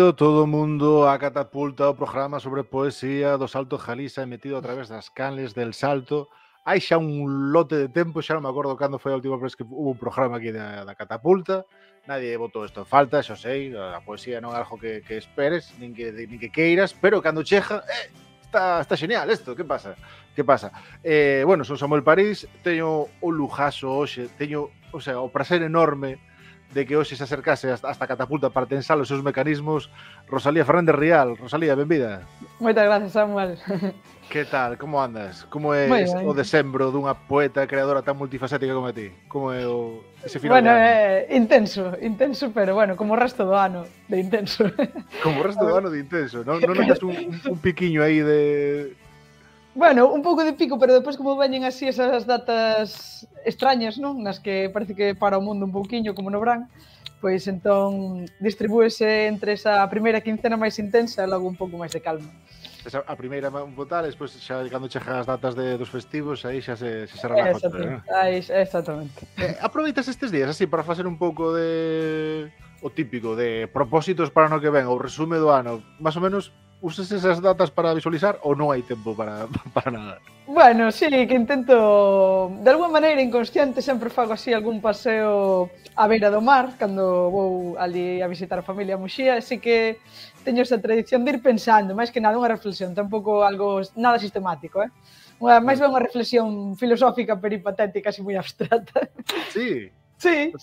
Benvido todo o mundo a Catapulta, o programa sobre poesía do Salto de Galiza emitido a través das canles del Salto. Hai xa un lote de tempo, xa non me acordo cando foi a última vez que hubo un programa aquí da Catapulta. Nadie botou isto en falta, xa sei, a poesía non é algo que esperes, nin que queiras, pero cando chega, está genial isto, que pasa? Que pasa? Bueno, son Samuel París, teño un lujazo hoxe, teño, o sea, o prazer enorme de que hoxe se acercase hasta Catapulta para tensar os seus mecanismos Rosalía Fernández Rial. Rosalía, benvida. Moitas gracias, Samuel. Que tal? Como andas? Como é o decembro dunha poeta creadora tan multifacética como a ti? Como é ese final de ano? Intenso, pero bueno, como o resto do ano de intenso. Como o resto do ano de intenso, non notas un piquiño aí de... Bueno, un pouco de pico, pero depois como veñen así esas datas extrañas, non? Nas que parece que para o mundo un pouquiño, como no verán, pois entón distribúese entre esa primeira quincena máis intensa e logo un pouco máis de calma. A primeira un total, despois xa cando chegan as datas dos festivos, aí xa se relaja. Exactamente. Aproveitas estes días así para facer un pouco de... o típico, de propósitos para o ano que ven, ou resume do ano, máis ou menos... Usas esas datas para visualizar ou non hai tempo para nada? Bueno, sí, que intento, de alguma maneira inconsciente, sempre fago así algún paseo á beira do mar, cando vou ali a visitar a familia a Muxía, así que teño esa tradición de ir pensando, máis que nada unha reflexión, tampouco algo nada sistemático, máis ben unha reflexión filosófica peripatética, así moi abstracta. Sí? Sí.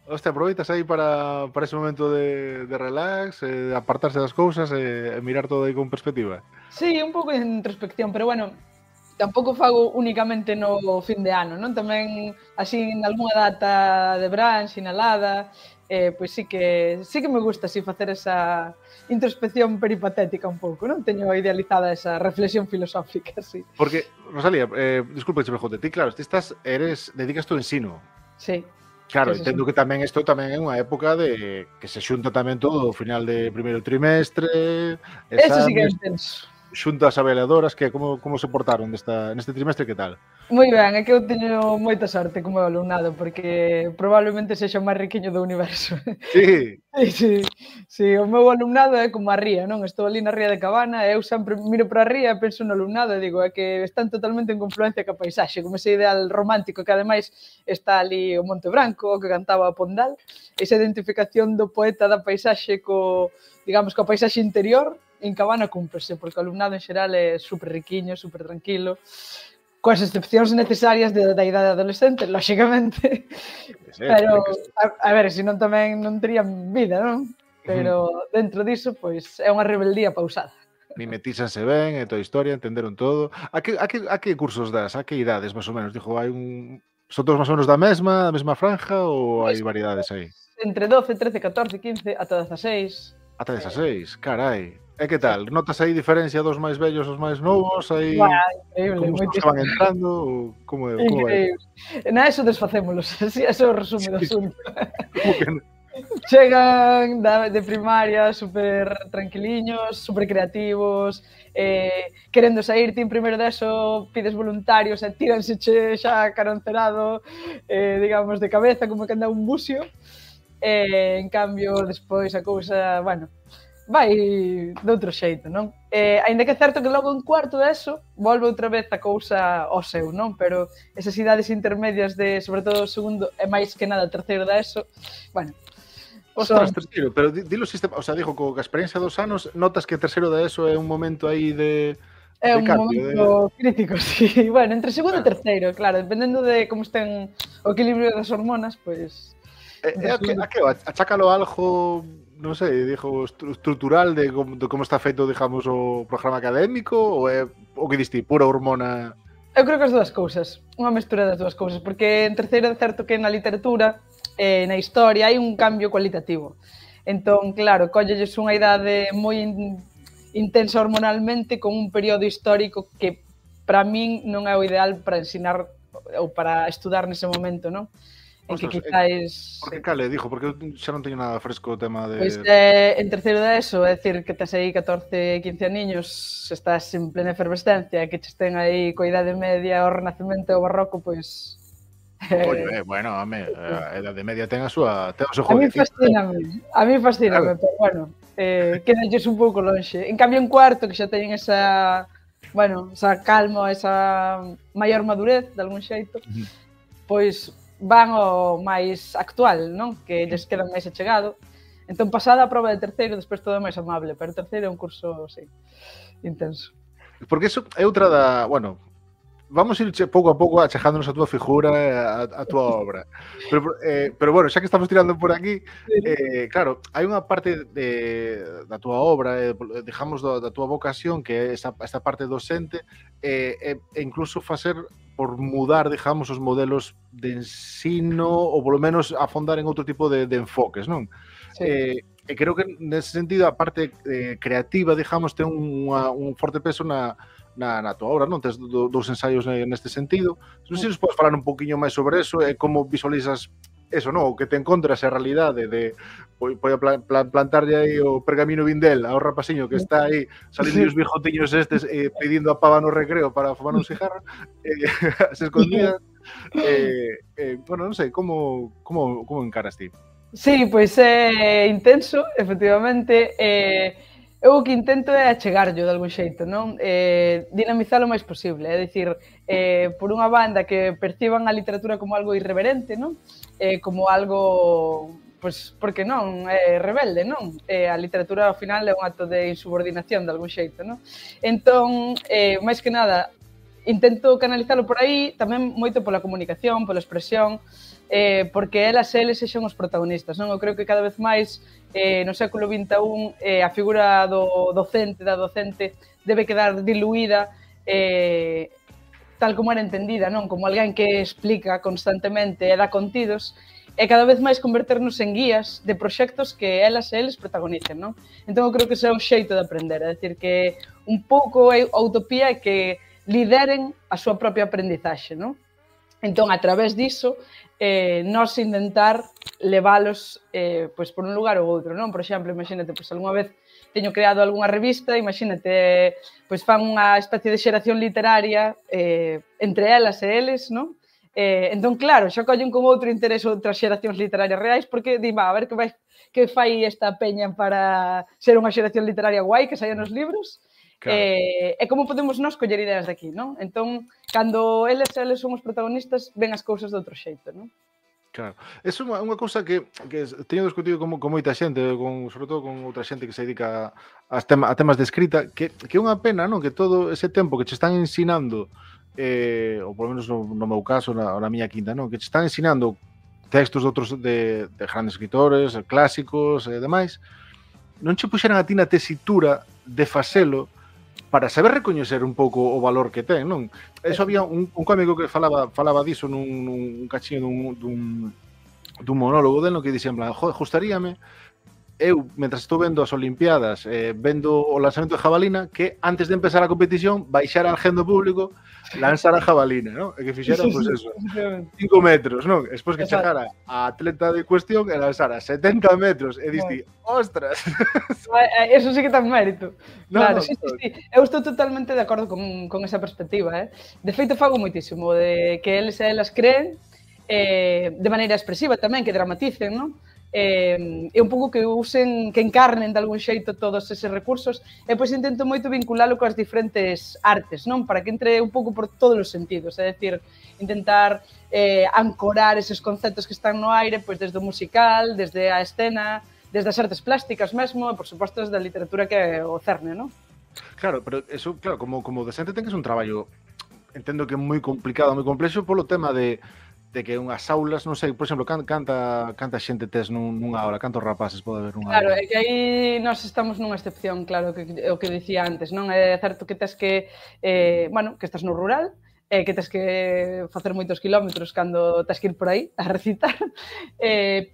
Hostia, aproveitas aí para ese momento de relax, de apartarse das cousas e mirar todo aí con perspectiva. Sí, un pouco de introspección, pero bueno, tampouco fago únicamente no fin de ano, non? Tamén así en algunha data de verán, sinalada, pois sí que me gusta así facer esa introspección peripatética un pouco, non? Teño idealizada esa reflexión filosófica, sí. Porque, Rosalía, disculpa que se me jote, ti claro, dedicas tu ensino. Sí. Claro, entendo que tamén isto tamén é unha época de que se xunta tamén todo o final de primeiro trimestre, exames, eso sí que é intenso. Xuntas avaliadoras, que como se portaron neste trimestre, que tal? Moi ben, é que eu teño moita sorte como alumnado, porque probablemente sexa o máis riquiño do universo. Sí? Sí, o meu alumnado é como a ría, non? Estou ali na ría de Cabana e eu sempre miro para a ría e penso no alumnado e digo, é que están totalmente en confluencia ca paisaxe, como ese ideal romántico que ademais está ali o Monte Branco, o que cantaba Pondal, esa identificación do poeta da paisaxe digamos, coa paisaxe interior, en Cabana cúmprese, porque o alumnado en xeral é super riquiño, super tranquilo, coas excepcións necesarias da idade adolescente, lóxicamente. Pero, a ver, senón tamén non terían vida, non? Pero dentro diso, pois, é unha rebeldía pausada. Mimetízanse ben, e toda a historia, entenderon todo. A que cursos das? A que idades, máis ou menos? Dijo, son todos máis ou menos da mesma franja ou hai variedades aí? Entre 12, 13, 14, 15, ata 16. Ata 16, carai. E que tal? Notas aí diferencia dos máis vellos aos máis novos? Aí increíble, como se van entrando? Como vai? Na eso desfacémolos, así é o resumo do asunto. Como que non? Chegan de primaria super tranquiliños, super creativos, querendo sair, ti en primeiro deso pides voluntarios e tíranse xa caroncerado, digamos, de cabeza, como que anda un buxio. En cambio, despois a cousa, bueno, vai de outro xeito, non? Ainda que é certo que logo en cuarto deso volve outra vez a cousa ao seu, non? Pero esas idades intermedias de, sobre todo, segundo e máis que nada terceiro da ESO, bueno... Ostras, terceiro, pero dilo sistema, o sea, dijo que a experiencia dos anos, notas que terceiro da ESO é un momento aí de... É un momento crítico, sí. Bueno, entre segundo e terceiro, claro, dependendo de como estén o equilibrio das hormonas, pois... Achácalo algo, non sei, dijo, estrutural de como está feito, digamos, o programa académico, ou é o que diste, pura hormona? Eu creo que as dúas cousas, unha mestura das dúas cousas, porque en terceiro é certo que na literatura, na historia, hai un cambio cualitativo. Entón, claro, collelles unha idade moi intensa hormonalmente con un período histórico que para min non é o ideal para ensinar ou para estudar nese momento, non? En que quizáis... Por que cale, dijo? Porque eu xa non teño nada fresco o tema de... Pois en terceiro da ESO, é dicir, que tes aí 14, 15 aniños, estás en plena efervescencia, que che estén aí coa idade media, o Renacemento e o Barroco, pois Oye, bueno, home, a Edade Media ten o seu A mí jueguecito. fascíname, Claro. pero bueno, quédalles un pouco lonxe. En cambio, en cuarto, que xa teñen esa, bueno, esa calma, esa maior madurez, de algún xeito, pois van ao máis actual, non? Que lles queda máis achegado. Entón, pasada a prova de terceiro, despois todo é máis amable, pero terceiro é un curso, sí, intenso. Porque eso é outra da... Bueno, vamos ir pouco a pouco achegándonos a túa figura e a túa obra. Pero bueno, xa que estamos tirando por aquí, claro, hai unha parte da túa obra, digamos, da túa vocación, que é esta parte docente, e incluso facer por mudar, digamos, os modelos de ensino, ou polo menos afondar en outro tipo de enfoques, non? Sí. E creo que nese sentido a parte creativa, digamos, ten un forte peso na tua obra, non? Tes dous ensaios neste sentido. Non sei se nos podes falar un poquinho máis sobre eso e como visualizas eso, non? O que te encontras a realidade de plantarlle aí o pergamino Vindel ao rapaciño que está aí salindo os bijotiños estes pedindo a pava no recreo para fumar un cigarro se escondía. Bueno, non sei, como encaras ti? Sí, pois é intenso, efectivamente. Eu o que intento é achegarllo de algún xeito, non? Dinamizalo o máis posible, é dicir, por unha banda que perciban a literatura como algo irreverente, non? Como algo, pois, porque non, rebelde, non? A literatura ao final é un acto de insubordinación de algún xeito, non? Entón, máis que nada, intento canalizalo por aí, tamén moito pola comunicación, pola expresión, porque elas e eles sexan os protagonistas, non? Eu creo que cada vez máis no século XXI a figura do docente, da docente, debe quedar diluída tal como era entendida, non? Como alguén que explica constantemente e dá contidos, e cada vez máis converternos en guías de proxectos que elas e eles protagonicen, non? Entón eu creo que ese é o xeito de aprender, é dicir que un pouco a utopía é que lideren a súa propia aprendizaxe, non? Entón, a través diso, nós intentar leválos pois, por un lugar ou outro, non? Por exemplo, imagínate, pois, algunha vez teño creado algunha revista, imagínate, pois fan unha especie de xeración literaria entre elas e eles, non? Entón, claro, xa collen con outro interés outras xeracións literarias reais, porque di, a ver que fai esta peña para ser unha xeración literaria guai que saia nos libros. Claro. E como podemos nós coller ideas de aquí, non? Entón, cando eles son os protagonistas, ven as cousas de outro xeito, non? Claro. É unha cousa que teño discutido con moita xente, sobre todo con outra xente que se dedica a temas de escrita, que é unha pena, non? Que todo ese tempo que che están ensinando, ou polo menos no meu caso, na miña quinta, non? Que che están ensinando textos de grandes escritores, clásicos e demais, non che puxeran a ti na tesitura de facelo para saber recoñecer un pouco o valor que ten, non? Eso había un cómico que falaba diso nun cachiño dun monólogo del, no que dicía en plan, joder, gustaríame eu, mentras estou vendo as Olimpiadas, vendo o lanzamento de jabalina, que antes de empezar a competición baixara al gen do público, lanzara a jabalina, non? E que fixera, pois eso, 5 metros, non? Despois que chegara a atleta de cuestión e lanzara 70 metros, e diste, ostras! Eso sí que ten mérito. Claro, sí. Eu estou totalmente de acordo con esa perspectiva, De feito, fago moitísimo de que eles e elas creen de maneira expresiva tamén, que dramaticen, non? E un pouco que usen, que encarnen de algún xeito todos eses recursos, e pois intento moito vinculalo coas diferentes artes, non? Para que entre un pouco por todos os sentidos, é dicir, intentar ancorar eses conceptos que están no aire, pois desde o musical, desde a escena, desde as artes plásticas mesmo, e por suposto desde a literatura que é o cerne, non? Claro, pero eso, claro, como docente ten que ser un traballo, entendo que moi complicado, moi complexo, polo tema de que unhas aulas, non sei, por exemplo, canta xente tes nunha aula, cantos rapaces pode haber nunha aula? Claro, é que aí nós estamos nunha excepción, claro, que o que dicía antes, non? É certo que tes que, bueno, que estás no rural, que tes que facer moitos kilómetros cando tes que ir por aí a recitar,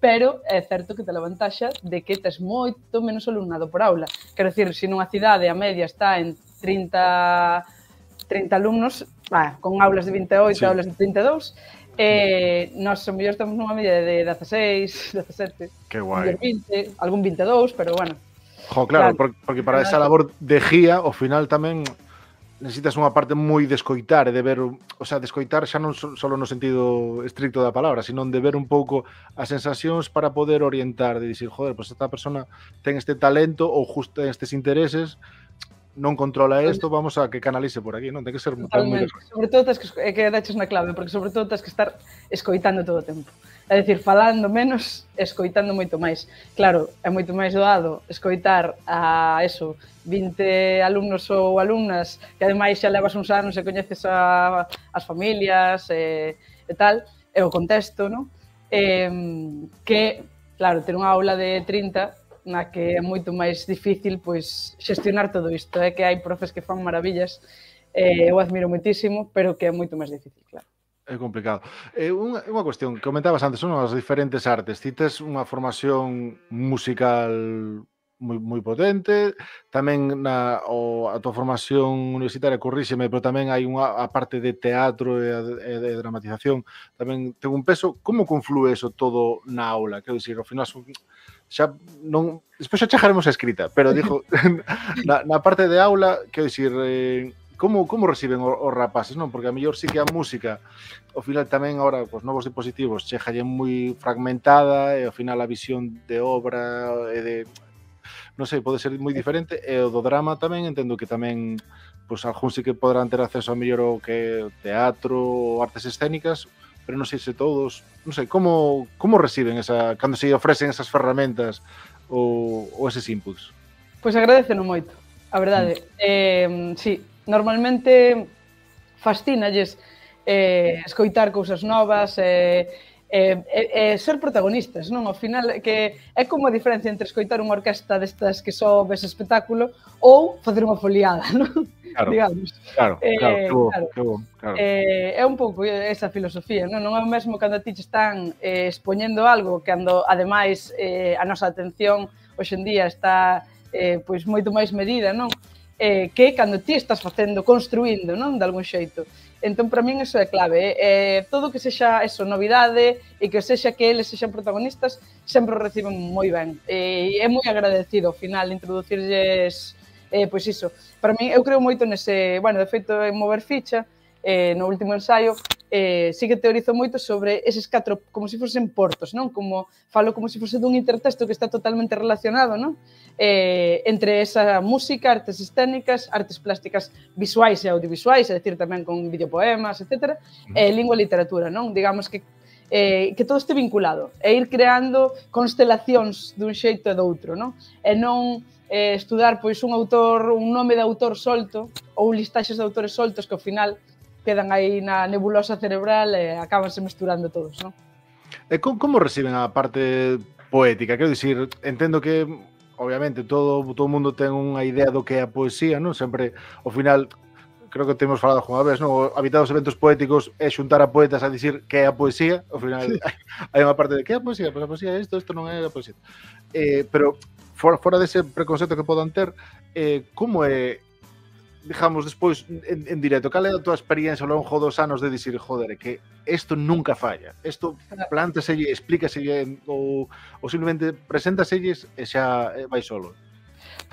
pero é certo que te levantaxa de que tes moito menos alumnado por aula. Quero dicir, se nunha cidade a media está en 30 alumnos, con aulas de 28, sí, aulas de 32, nós ao mellor estamos nunha media de 16, 17, que guai. 20, algún 22, pero bueno. Jo, claro, porque para esa labor de guía, ao final tamén necesitas unha parte moi de escoitar e de ver, o sea, de escoitar xa non só no sentido estricto da palabra, sino de ver un pouco as sensacións para poder orientar, de dicir, joder, pues esta persona ten este talento ou justo ten estes intereses, non controla isto, vamos a que canalice por aquí, non? Ten que ser tamén moi de Totalmente. Sobre todo tens que daches na clave, porque sobre todo tens que estar escoitando todo o tempo. É dicir, falando menos, escoitando moito máis. Claro, é moito máis doado escoitar a eso, 20 alumnos ou alumnas que ademais xa levas uns anos e coñeces as familias e tal, e o contexto, non? Que, claro, ter unha aula de 30 na que é moito máis difícil pois xestionar todo isto. É que hai profes que fan maravillas, eu admiro moitísimo, pero que é moito máis difícil, claro. É complicado. Unha cuestión, que comentabas antes, son as diferentes artes. Ti tes unha formación musical moi potente, tamén a tua formación universitaria, corríxeme, pero tamén hai a parte de teatro e de dramatización, tamén ten un peso. Como conflúe eso todo na aula? Quero dicir, ao final xa non... Despois xa chegaremos a escrita, pero digo, na parte de aula, quero dicir... Como reciben os rapaces, non? Porque a mellor sí que a música, ao final tamén agora, os novos dispositivos, chegalle moi fragmentada e ao final a visión de obra e de, non sei, pode ser moi diferente, e o do drama tamén entendo que tamén, pois algún sí que poderán ter acceso a mellor ao que teatro ou artes escénicas, pero non sei se todos, non sei, como reciben cando se ofrecen esas ferramentas ou eses inputs? Pois agradeceno moito, a verdade. Sí, normalmente fascínalles escoitar cousas novas e ser protagonistas, non? Ao final, que é como a diferencia entre escoitar unha orquesta destas que só ves espectáculo ou facer unha foliada, non? Claro, digamos. Claro. Que bo. É un pouco esa filosofía, non? Non é o mesmo cando a ti están expoñendo algo, cando, ademais, a nosa atención hoxe en día está pois moito máis medida, non? Que cando ti estás facendo, construindo, non? De algún xeito. Entón, para min, iso é clave. Todo que sexa eso, novidade e que sexa que eles sexan protagonistas, sempre o reciben moi ben. É moi agradecido, ao final, introducirlles, pois iso. Para min, eu creo moito nese... Bueno, de feito, en Mover Ficha, no último ensaio, sí que teorizo moito sobre eses 4, como se fosen portos, non? Falo como se fose dun intertexto que está totalmente relacionado, non? Entre esa música, artes escénicas, artes plásticas visuais e audiovisuais, é dicir, tamén con videopoemas, etc. Lingua e literatura, non? Digamos que todo este vinculado, e ir creando constelacións dun xeito e do outro, non? E non estudar pois un nome de autor solto ou listaxes de autores soltos que ao final quedan aí na nebulosa cerebral e acabanse mesturando todos, non? E como reciben a parte poética? Quero dicir, entendo que obviamente todo o mundo ten unha idea do que é a poesía, non? Sempre, ao final, creo que temos falado unha vez, non? Habitar os eventos poéticos é xuntar a poetas a dicir que é a poesía, ao final hai unha parte de que é a poesía, pois a poesía é isto non é a poesía. Pero fora dese preconcepto que podan ter, como é, digamos, despois en directo, cal é a tua experiencia ao longo dos anos de dicir, joder, que isto nunca falla, isto plántaselle, explícaselle ou simplemente preséntaselles e xa vai solo?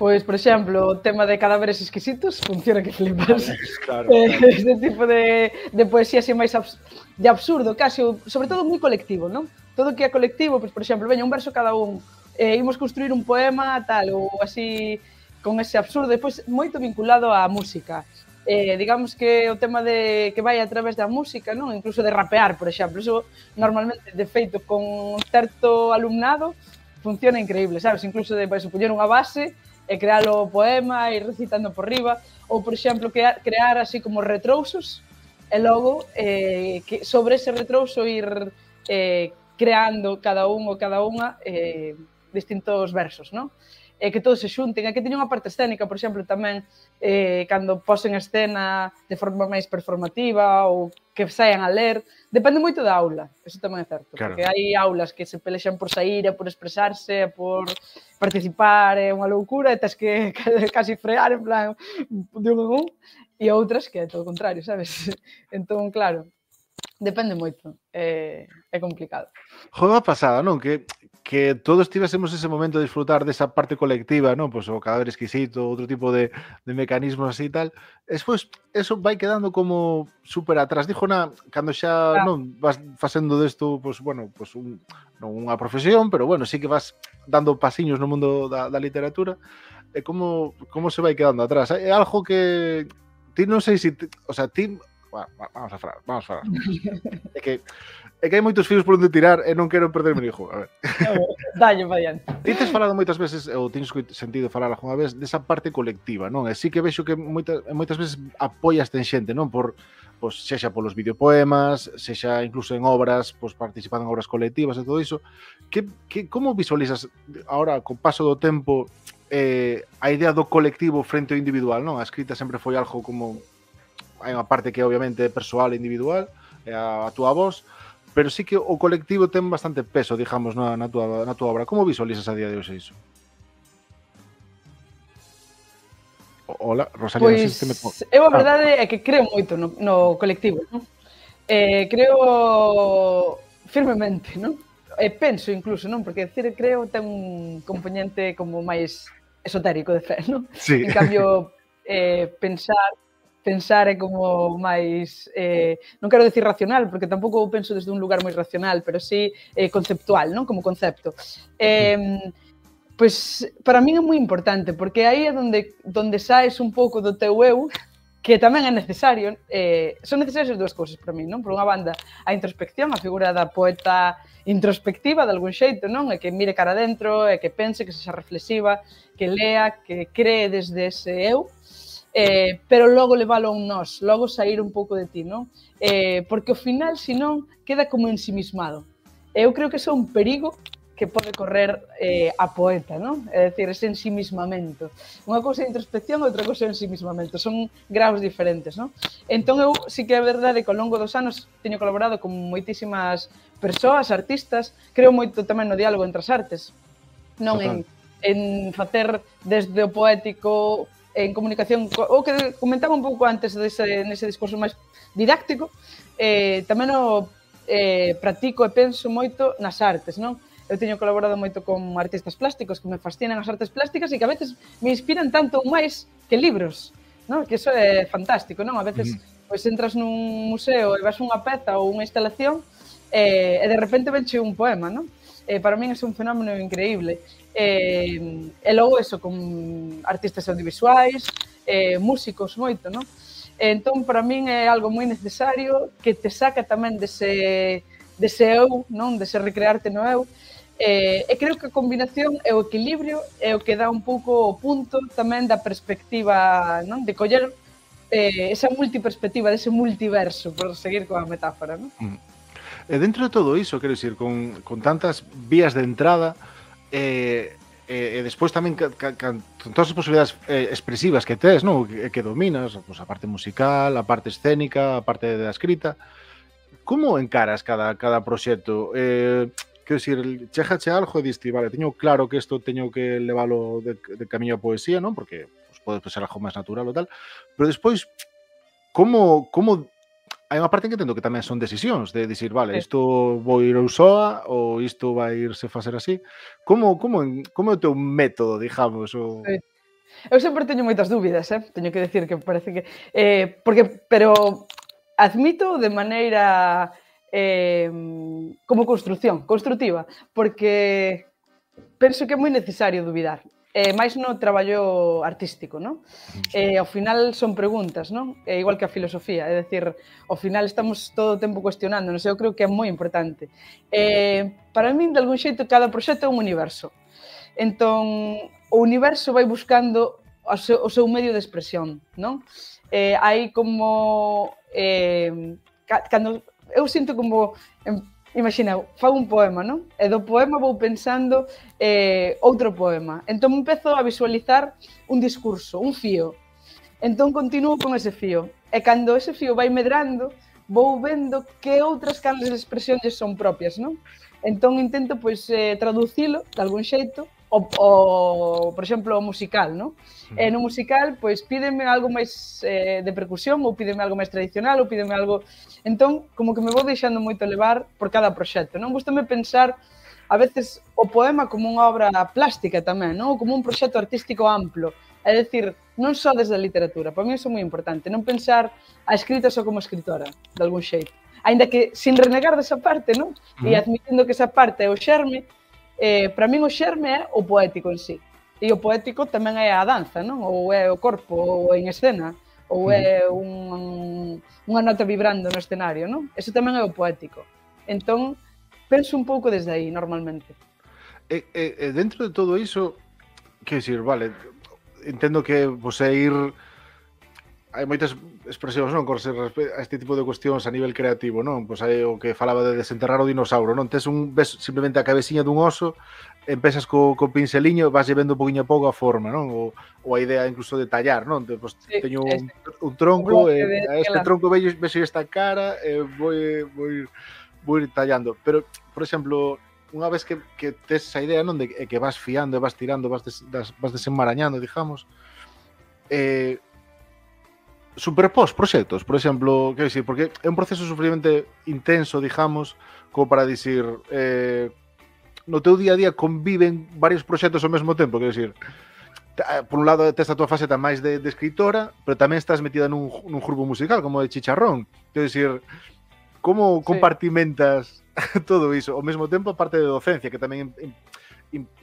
Pois, por exemplo, o tema de cadáveres exquisitos funciona que flipas. Claro. Este tipo de poesía así máis de absurdo, casi, sobre todo moi colectivo, non? Todo que é colectivo, pois, por exemplo, veña un verso cada un, imos construir un poema, tal, ou así, con ese absurdo, depois moito vinculado á música. Digamos que o tema de que vai a través da música, non? Incluso de rapear, por exemplo, eso normalmente, de feito, con certo alumnado, funciona increíble, sabes? Incluso de poñer unha base e crear o poema e ir recitando por riba, ou, por exemplo, crear así como retrousos e logo sobre ese retrouso ir creando cada un ou cada unha distintos versos, non? Que todos se xunten, e que teña unha parte escénica, por exemplo, tamén cando posen a escena de forma máis performativa ou que saian a ler, depende moito da aula, eso tamén é certo, porque hai aulas que se pelexan por sair e por expresarse, e por participar, é unha loucura, e tens que casi frear en plan de un en un, e outras que é todo o contrario, sabes? Entón, claro, depende moito, é complicado. Joder, a pasada, non? Que que todos tivésemos ese momento de disfrutar desa parte colectiva, non? Pois o cadáver exquisito, outro tipo de mecanismos así e tal. Despois, eso vai quedando como super atrás. Dijo cando xa Ah, non vas facendo desto, pois, bueno, pois non unha profesión, pero bueno, sí que vas dando pasiños no mundo da literatura. E como se vai quedando atrás? É algo que ti non sei se, o sea, ti, vamos a falar juntos. É que hai moitos fios por onde tirar e non quero perderme o hijo. A ver. dalle, vai adiante. Ti tes falado moitas veces, ou tens sentido falar algunha vez, desa parte colectiva, non? E sí que vexo que moitas veces apoiaste en xente, non? Pois, sexa polos videopoemas, sexa incluso en obras, pois participando en obras colectivas e todo iso. Como visualizas agora, co paso do tempo, a idea do colectivo frente ao individual, non? A escrita sempre foi algo como... Hai unha parte que obviamente é persoal e individual, é a túa voz, pero sí que o colectivo ten bastante peso, digamos, na túa obra. Como visualizas a día de hoxe iso? Hola, Rosalía, non sei se me... Pois eu a verdade é que creo moito no colectivo, non? Creo firmemente, non? E penso incluso, non? Porque decir creo ten un componente como máis esotérico de fe, non? Sí. En cambio, pensar é como máis, non quero decir racional, porque tampouco penso desde un lugar moi racional, pero sí conceptual, non? Como concepto. Pois para min é moi importante, porque aí é donde saes un pouco do teu eu, que tamén é necesario. Son necesarias as dúas cousas para min, non? Por unha banda, a introspección, a figura da poeta introspectiva, de algún xeito, non? E que mire cara adentro, e que pense, que sexa reflexiva, que lea, que cree desde ese eu, pero logo leválo a un nós, logo sair un pouco de ti, non? Porque ao final, senón, queda como ensimismado. Eu creo que iso é un perigo que pode correr a poeta, non? É dicir, ese ensimismamento. Unha cousa é introspección, outra cousa é ensimismamento. Son graus diferentes, non? Entón, eu sí que é verdade que ao longo dos anos teño colaborado con moitísimas persoas, artistas, creo moito tamén no diálogo entre as artes, non en facer desde o poético, en comunicación, o que comentaba un pouco antes nese discurso máis didáctico, tamén o practico e penso moito nas artes, non? Eu teño colaborado moito con artistas plásticos que me fascinan as artes plásticas e que a veces me inspiran tanto ou máis que libros, non? Que iso é fantástico, non? A veces pois entras nun museo e vas unha peza ou unha instalación e de repente venche un poema, non? Para min é un fenómeno increíble. E logo eso, con artistas audiovisuais, músicos moito, non? Entón, para min é algo moi necesario que te saca tamén dese eu, non? Dese recrearte no eu. E creo que a combinación e o equilibrio é o que dá un pouco o punto tamén da perspectiva, non? De coller esa multiperspectiva, dese multiverso, por seguir coa metáfora, non? E dentro de todo iso, quero dicir, con tantas vías de entrada, e despois tamén con todas as posibilidades expresivas que tes, non? Que dominas, pois, a parte musical, a parte escénica, a parte da escrita, como encaras cada proxecto? Quero dicir, chégache algo e diste, vale, teño claro que isto teño que leválo de camiño a poesía, non? Porque pues, pode ser algo máis natural ou tal, pero despois, como hai unha parte en que entendo que tamén son decisións de dicir, vale, isto vou ir eu soa ou isto vai irse facer así. Como é o teu método, digamos? Eu sempre teño moitas dúbidas, teño que decir que parece que... pero admito de maneira como constructiva, porque penso que é moi necesario dubidar. máis no traballo artístico, non? Ao final son preguntas, non? Igual que a filosofía, é dicir, ao final estamos todo o tempo cuestionándonos, eu creo que é moi importante. Para min, de algún xeito, cada proxecto é un universo. Entón, o universo vai buscando o seu medio de expresión, non? Hai como... Cando eu sinto como... Imagina, fago un poema, non? E do poema vou pensando outro poema. Entón empezo a visualizar un discurso, un fío. Entón continuo con ese fío. E cando ese fío vai medrando, vou vendo que outras canles de expresión son propias, non? Entón intento, pois, traducilo de algún xeito, por exemplo, o musical, non? E no musical, pois, pídeme algo máis de percusión, ou pídeme algo máis tradicional, ou pídeme algo... Entón, como que me vou deixando moito levar por cada proxecto, non? Gústame pensar a veces o poema como unha obra plástica tamén, non? Ou como un proxecto artístico amplo. É dicir, non só desde a literatura, para mí iso é moi importante, non pensar a escrita só como escritora, de algún xeito. Ainda que, sin renegar desa parte, non? E admitindo que esa parte é o xerme, para min o xerme é o poético en sí. E o poético tamén é a danza, non? Ou é o corpo, ou en escena, ou é unha nota vibrando no escenario, non? Eso tamén é o poético. Entón, penso un pouco desde aí, normalmente. Dentro de todo iso, que decir, vale, entendo que você ir... Hai moitas expresións, non, con a este tipo de cuestións a nivel creativo, non? Pois hai o que falaba de desenterrar o dinossauro, non? Ves simplemente a cabeciña dun oso, empezas co pinceliño, vas vendo un poquinho a pouco a forma, non? Ou a idea incluso de tallar, non? Pois teño un tronco, a este tronco vexo esta cara, vou ir tallando. Pero, por exemplo, unha vez que tes esa idea, non, de que vas fiando, vas tirando, vas desenmarañando, digamos, superpós proxectos, por exemplo, quero dicir, porque é un proceso suficientemente intenso, digamos, como para dicir, no teu día a día conviven varios proxectos ao mesmo tempo, quero dicir, por un lado tes a tua faceta máis de escritora, pero tamén estás metida nun grupo musical como de Chicharrón, quero dicir, como compartimentas todo iso, ao mesmo tempo a parte de docencia, que tamén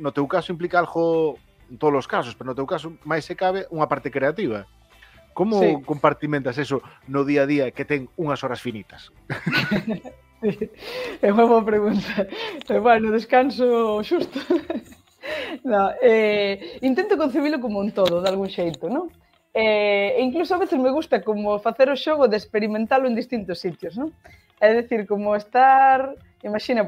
no teu caso implica algo, en todos os casos, pero no teu caso máis se cabe unha parte creativa. Como compartimentas eso no día a día que ten unhas horas finitas? É unha boa pregunta. Bueno, descanso xusto. No, intento concebilo como un todo, de algún xeito, non? Incluso a veces me gusta como facer o xogo de experimentalo en distintos sitios, non? É dicir, como estar... Imagina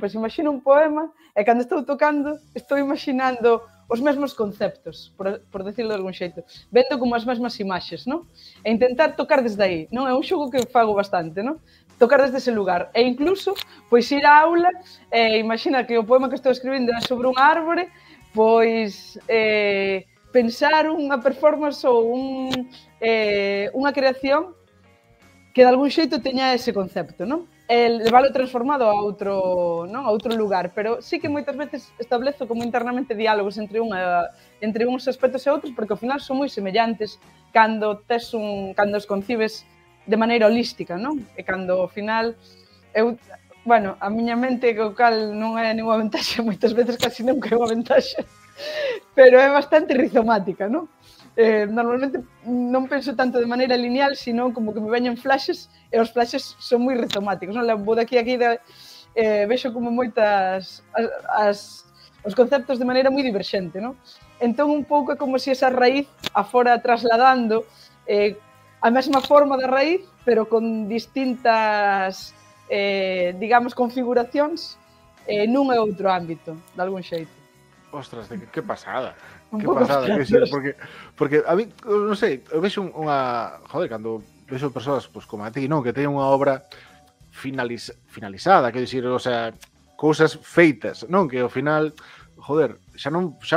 un poema e cando estou tocando estou imaginando os mesmos conceptos, por decirlo de algún xeito, vendo como as mesmas imaxes, non? E intentar tocar desde aí, non? É un xogo que fago bastante, non? Tocar desde ese lugar. E incluso, pois ir á aula, imagina que o poema que estou escribindo é sobre unha árbore, pois pensar unha performance ou unha creación que de algún xeito teña ese concepto, non? Leválo transformado a outro lugar, pero sí que moitas veces establezo como internamente diálogos entre uns aspectos e outros, porque ao final son moi semellantes cando os concibes de maneira holística, non? E cando ao final a miña mente, o cal non é ninguna ventaxe, moitas veces casi nunca é unha ventaxe, pero é bastante rizomática, non? Normalmente non penso tanto de maneira lineal, sino como que me veñen flashes, e os flashes son moi rizomáticos, non? Vou daqui a aquí, vexo como moitas os conceptos de maneira moi diverxente, non? Entón, un pouco é como se esa raíz afora trasladando a mesma forma da raíz, pero con distintas, digamos, configuracións nun e outro ámbito, de algún xeito. Ostras, que pasada. Que pasada, que ser, porque a mí, non sei, eu vexo unha... Joder, cando vexo persoas pues, como a ti, non? Que teñen unha obra finalizada, quero dicir, o sea, cousas feitas, non? Que ao final, joder, xa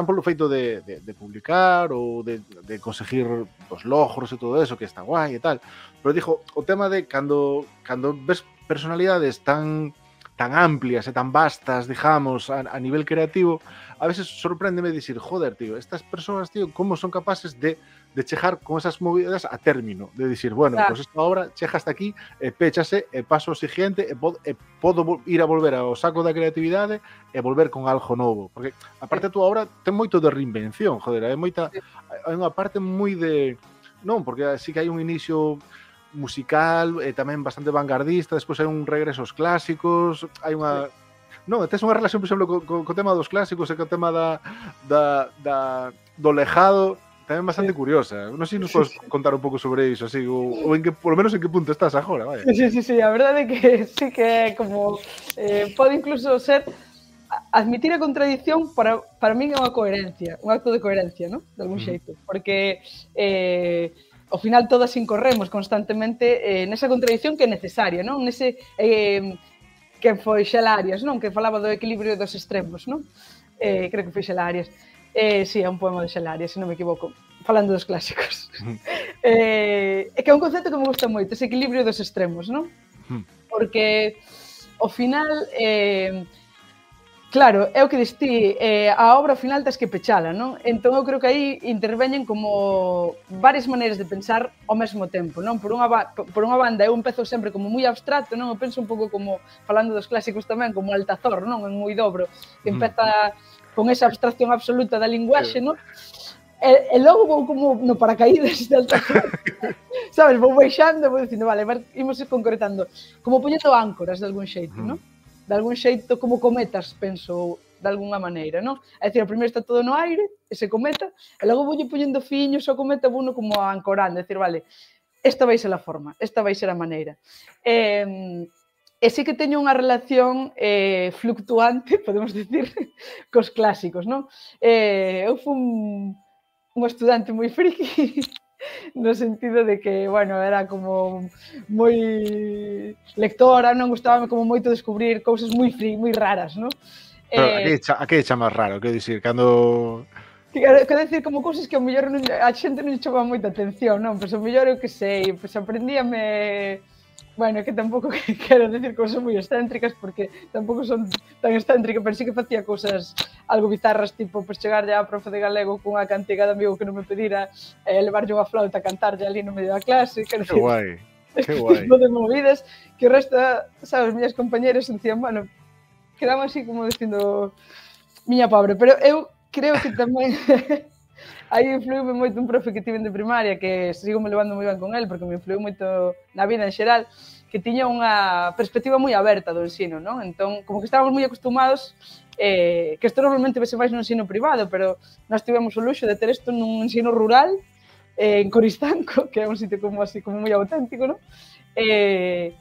polo feito de publicar ou de conseguir os logros e todo eso, que está guai e tal, pero dixo, o tema de cando ves personalidades tan amplias e tan vastas, digamos, a nivel creativo, a veces sorpréndeme dicir, joder, tío, estas persoas, tío, como son capaces de chegar con esas movidas a término, de dicir, bueno, claro, pues esta obra chega hasta aquí, péchase, paso ao siguiente, podo ir a volver ao saco da creatividade e volver con algo novo, porque aparte a tua obra ten moito de reinvención, joder, hai unha parte moi de... Non, porque sí que hai un inicio musical, tamén bastante vanguardista, despois hai un regreso aos clásicos, hai unha... Non, tes unha relación, por exemplo, co tema dos clásicos e co tema do lejado, tamén bastante curiosa. Non sei se nos podes contar un pouco sobre iso, así, ou en que, por lo menos en que punto estás agora, vaya. Sí, a verdade é que sí que é como... pode incluso ser... Admitir a contradición para min é unha coherencia, un acto de coherencia, non? De algún xeito, porque... ao final todas incorremos constantemente nesa contradición que é necesaria, non? Nese que foi Xelarias, non? Que falaba do equilibrio dos extremos, non? Creo que foi Xelarias. Sí, é un poema de Xelarias, se non me equivoco, falando dos clásicos. É que é un concepto que me gusta moito, ese equilibrio dos extremos, non? Porque ao final Claro, é o que distí, a obra ao final tens que pechala, non? Entón eu creo que aí interveñen como varias maneiras de pensar ao mesmo tempo, non? Por unha banda eu empezo sempre como moi abstracto, non? Eu penso un pouco como, falando dos clásicos tamén, como Altazor, non? En Huidobro, que empeza con esa abstracción absoluta da linguaxe, non? E logo vou como no paracaídas de Altazor, sabes? Vou baixando, vou dicindo, vale, imos concretando, como poñendo áncoras de algún xeito, non? De algún xeito como cometas, penso, de algunha maneira, non? É dicir, primeiro está todo no aire, ese cometa, e logo voulle poñendo fiños ao cometa, vouno como ancorando, é dicir, vale, esta vai ser a forma, esta vai ser a maneira. E sí que teño unha relación fluctuante, podemos dicir, cos clásicos, non? Eu fui un estudante moi friki, no sentido de que, bueno, era como moi lectora, non gustábame como moito descubrir cousas moi raras, non? Pero a que chamas raro? Quero dicir, cando... Quero dicir, como cousas que ao mellor a xente non lle chama moita atención, non? Pois ao mellor eu que sei, pois aprendíame... Bueno, que tampouco quero dicir cousas moi excéntricas, porque tampouco son tan excéntrica, pero sí que facía cousas algo bizarras, tipo, pois chegarlle á profe de galego cunha cantiga de amigo que non me pedira levarlle unha flauta a cantarlle ali no medio da clase. Que guai, que guai. Tipo de movidas que o resto, sabes, miñas compañeras dicían, bueno, quedaban así como dicindo miña pobre, pero eu creo que tamén... Aí influíu moito un profe que tive de primaria, que sigo me levando moi ben con el, porque me influíu moito na vida en xeral, que tiña unha perspectiva moi aberta do ensino, non? Entón, como que estábamos moi acostumados, que isto normalmente vese máis no ensino privado, pero nós tivemos o luxo de ter isto nun ensino rural, en Coristanco, que é un sitio como así, como moi auténtico, non? E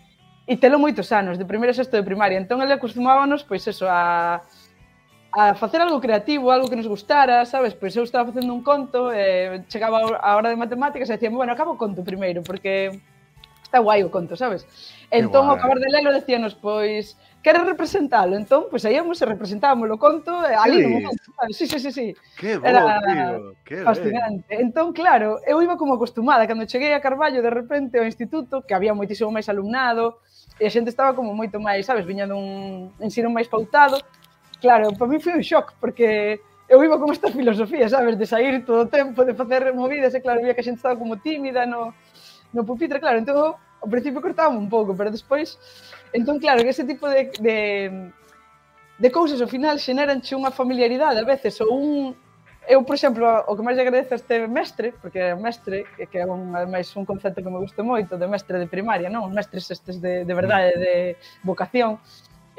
telo moitos anos, de primeiro a sexto de primaria. Entón, ele acostumábanos, pois eso, a facer algo creativo, algo que nos gustara, sabes? Pois eu estaba facendo un conto, chegaba a hora de matemáticas e dicían, bueno, acabo o conto primeiro, porque está guai o conto, sabes? Entón, ao acabar de lelo, decíanos, pois, queres representalo? Entón, pois íamos e representábamos o conto ali no momento, sabes? Sí. Que bo, tío, que fascinante. Entón, claro, eu iba como acostumada, cando cheguei a Carballo, de repente, ao instituto, que había moitísimo máis alumnado, e a xente estaba como moito máis, sabes? Viña dun ensino máis pautado. Claro, para mí foi un shock, porque eu iba con esta filosofía, sabes, de sair todo o tempo, de facer movidas, e claro, vía que a xente estaba como tímida no pupitre, claro, entón, ao principio cortaba un pouco, pero despois, entón, claro, que ese tipo de cousas, ao final, xeneranche unha familiaridade, a veces, ou un... Eu, por exemplo, o que máis agradezo a este mestre, porque é mestre, que é ademais un concepto que me gusta moito, de mestre de primaria, non? Os mestres estes de verdade, de vocación,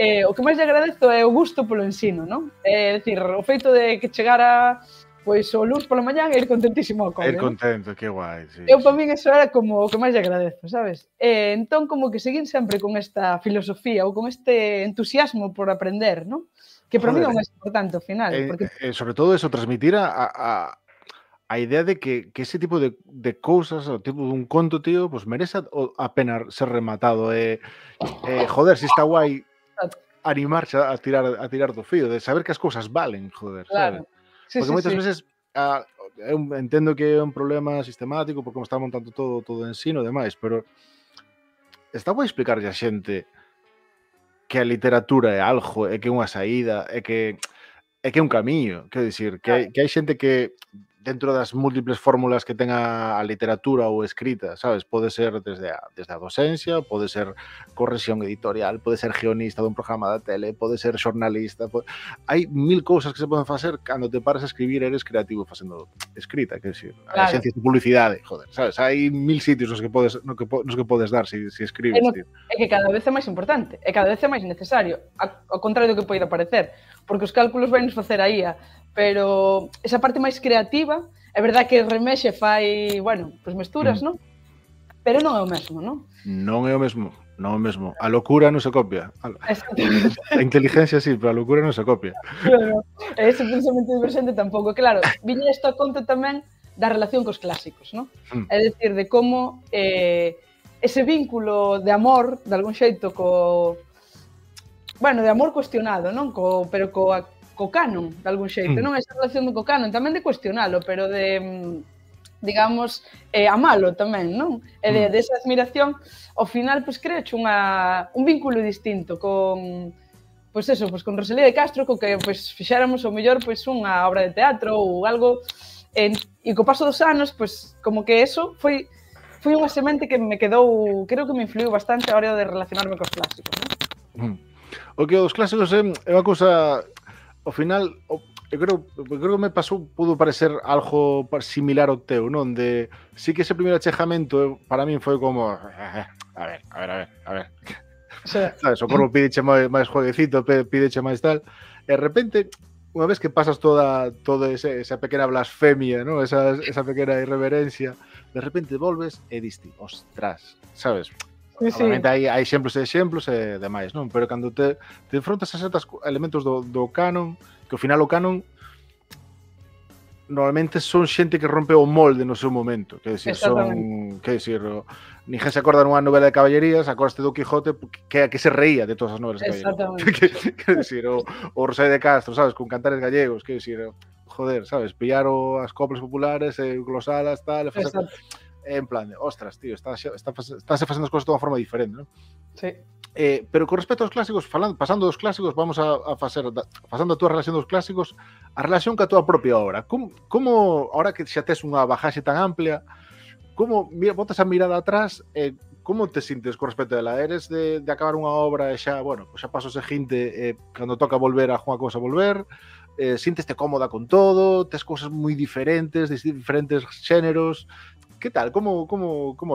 o que máis lle agradezo é o gusto polo ensino, non? É dicir, o feito de que chegara pois o luns pola mañán e ir contentísimo ao cole. Ir contento, que guai, sí. Eu, para min, eso era como o que máis lle agradezo, sabes? Entón, como que seguín sempre con esta filosofía ou con este entusiasmo por aprender, non? Que para mí é o máis importante ao final. Porque... sobre todo eso, transmitir a idea de que ese tipo de cousas, o tipo de un conto, tío, pues merece a pena ser rematado. Joder, si está guai animarse a tirar do fío, de saber que as cousas valen, joder, claro. Sabes? Sí, porque moitas veces eu entendo que é un problema sistemático porque como está montando todo o ensino e demais, pero está guai explicarlle a xente que a literatura é algo, é que é unha saída, é que é un camiño, quero dicir, que hai xente que dentro das múltiples fórmulas que ten a literatura ou escrita, sabes? Pode ser desde a docencia, pode ser corrección editorial, pode ser guionista dun programa da tele, pode ser xornalista, hai mil cousas que se poden facer cando te paras a escribir, eres creativo facendo escrita, quero dicir, a xencias de publicidade, joder, sabes? Hai mil sitios nos que podes dar se escribes, tío. É que cada vez é máis importante, e cada vez é máis necesario, ao contrario do que poida parecer, porque os cálculos vai nos facer a IA, pero esa parte máis creativa, é verdade que remexe fai, bueno, pois mesturas, non? Pero non é o mesmo, non? Non é o mesmo, non é o mesmo. A locura non se copia. A inteligencia sí, pero a locura non se copia. Claro, ese pensamento divergente tampouco. Claro, viña isto a conto tamén da relación cos clásicos, non? É dicir, de como ese vínculo de amor, de algún xeito, bueno, de amor cuestionado, non? Pero co canon, de algún xeito, non? Esa relación co canon, tamén de cuestionalo, pero de, digamos, amalo tamén, non? E de esa admiración, ao final, pois, creoche un vínculo distinto con pois eso, pois con Rosalía de Castro, co que pois fixéramos o mellor pois unha obra de teatro ou algo, e co paso dos anos, pois como que eso foi unha semente que me quedou, creo que me influiu bastante a hora de relacionarme cos clásicos, non? O que os clásicos é unha cousa, ao final, eu creo que me pasou, pudo parecer algo similar ao teu, non? De, sí que ese primeiro achegamento para min foi como, a ver. O sea, Sabes, o corpo pídeche máis jueguecito, pídeche máis tal, e de repente, unha vez que pasas toda esa pequena blasfemia, ¿no? esa pequena irreverencia, de repente volves e diste, ostras, sabes? sí. Obviamente hai exemplos e demais, non? Pero cando te enfrontas a certos elementos do canon, que ao final o canon normalmente son xente que rompe o molde no seu momento, que decir, ninguén se acorda nunha novela de caballerías, acordaste do Quijote que se reía de todas as novelas de caballerías. Que decir, o Rosalía de Castro, sabes, con cantares gallegos, que decir, joder, sabes, pillar as coplas populares, glosalas, tal, en plan de, ostras, tío, estáse facendo as cousas de unha forma diferente, non? Sí. Pero con respecto aos clásicos, pasando dos clásicos, vamos a facer, pasando a túa relación dos clásicos, a relación ca túa propia obra. Como ahora que xa tes unha bagaxe tan amplia, como botas a mirada atrás, como te sintes con respecto a ela? Eres de acabar unha obra e xa, bueno, pues xa paso o seguinte, cando toca volver a unha cousa volver, sinteste cómoda con todo, tes cousas moi diferentes, de diferentes xéneros. Que tal? Como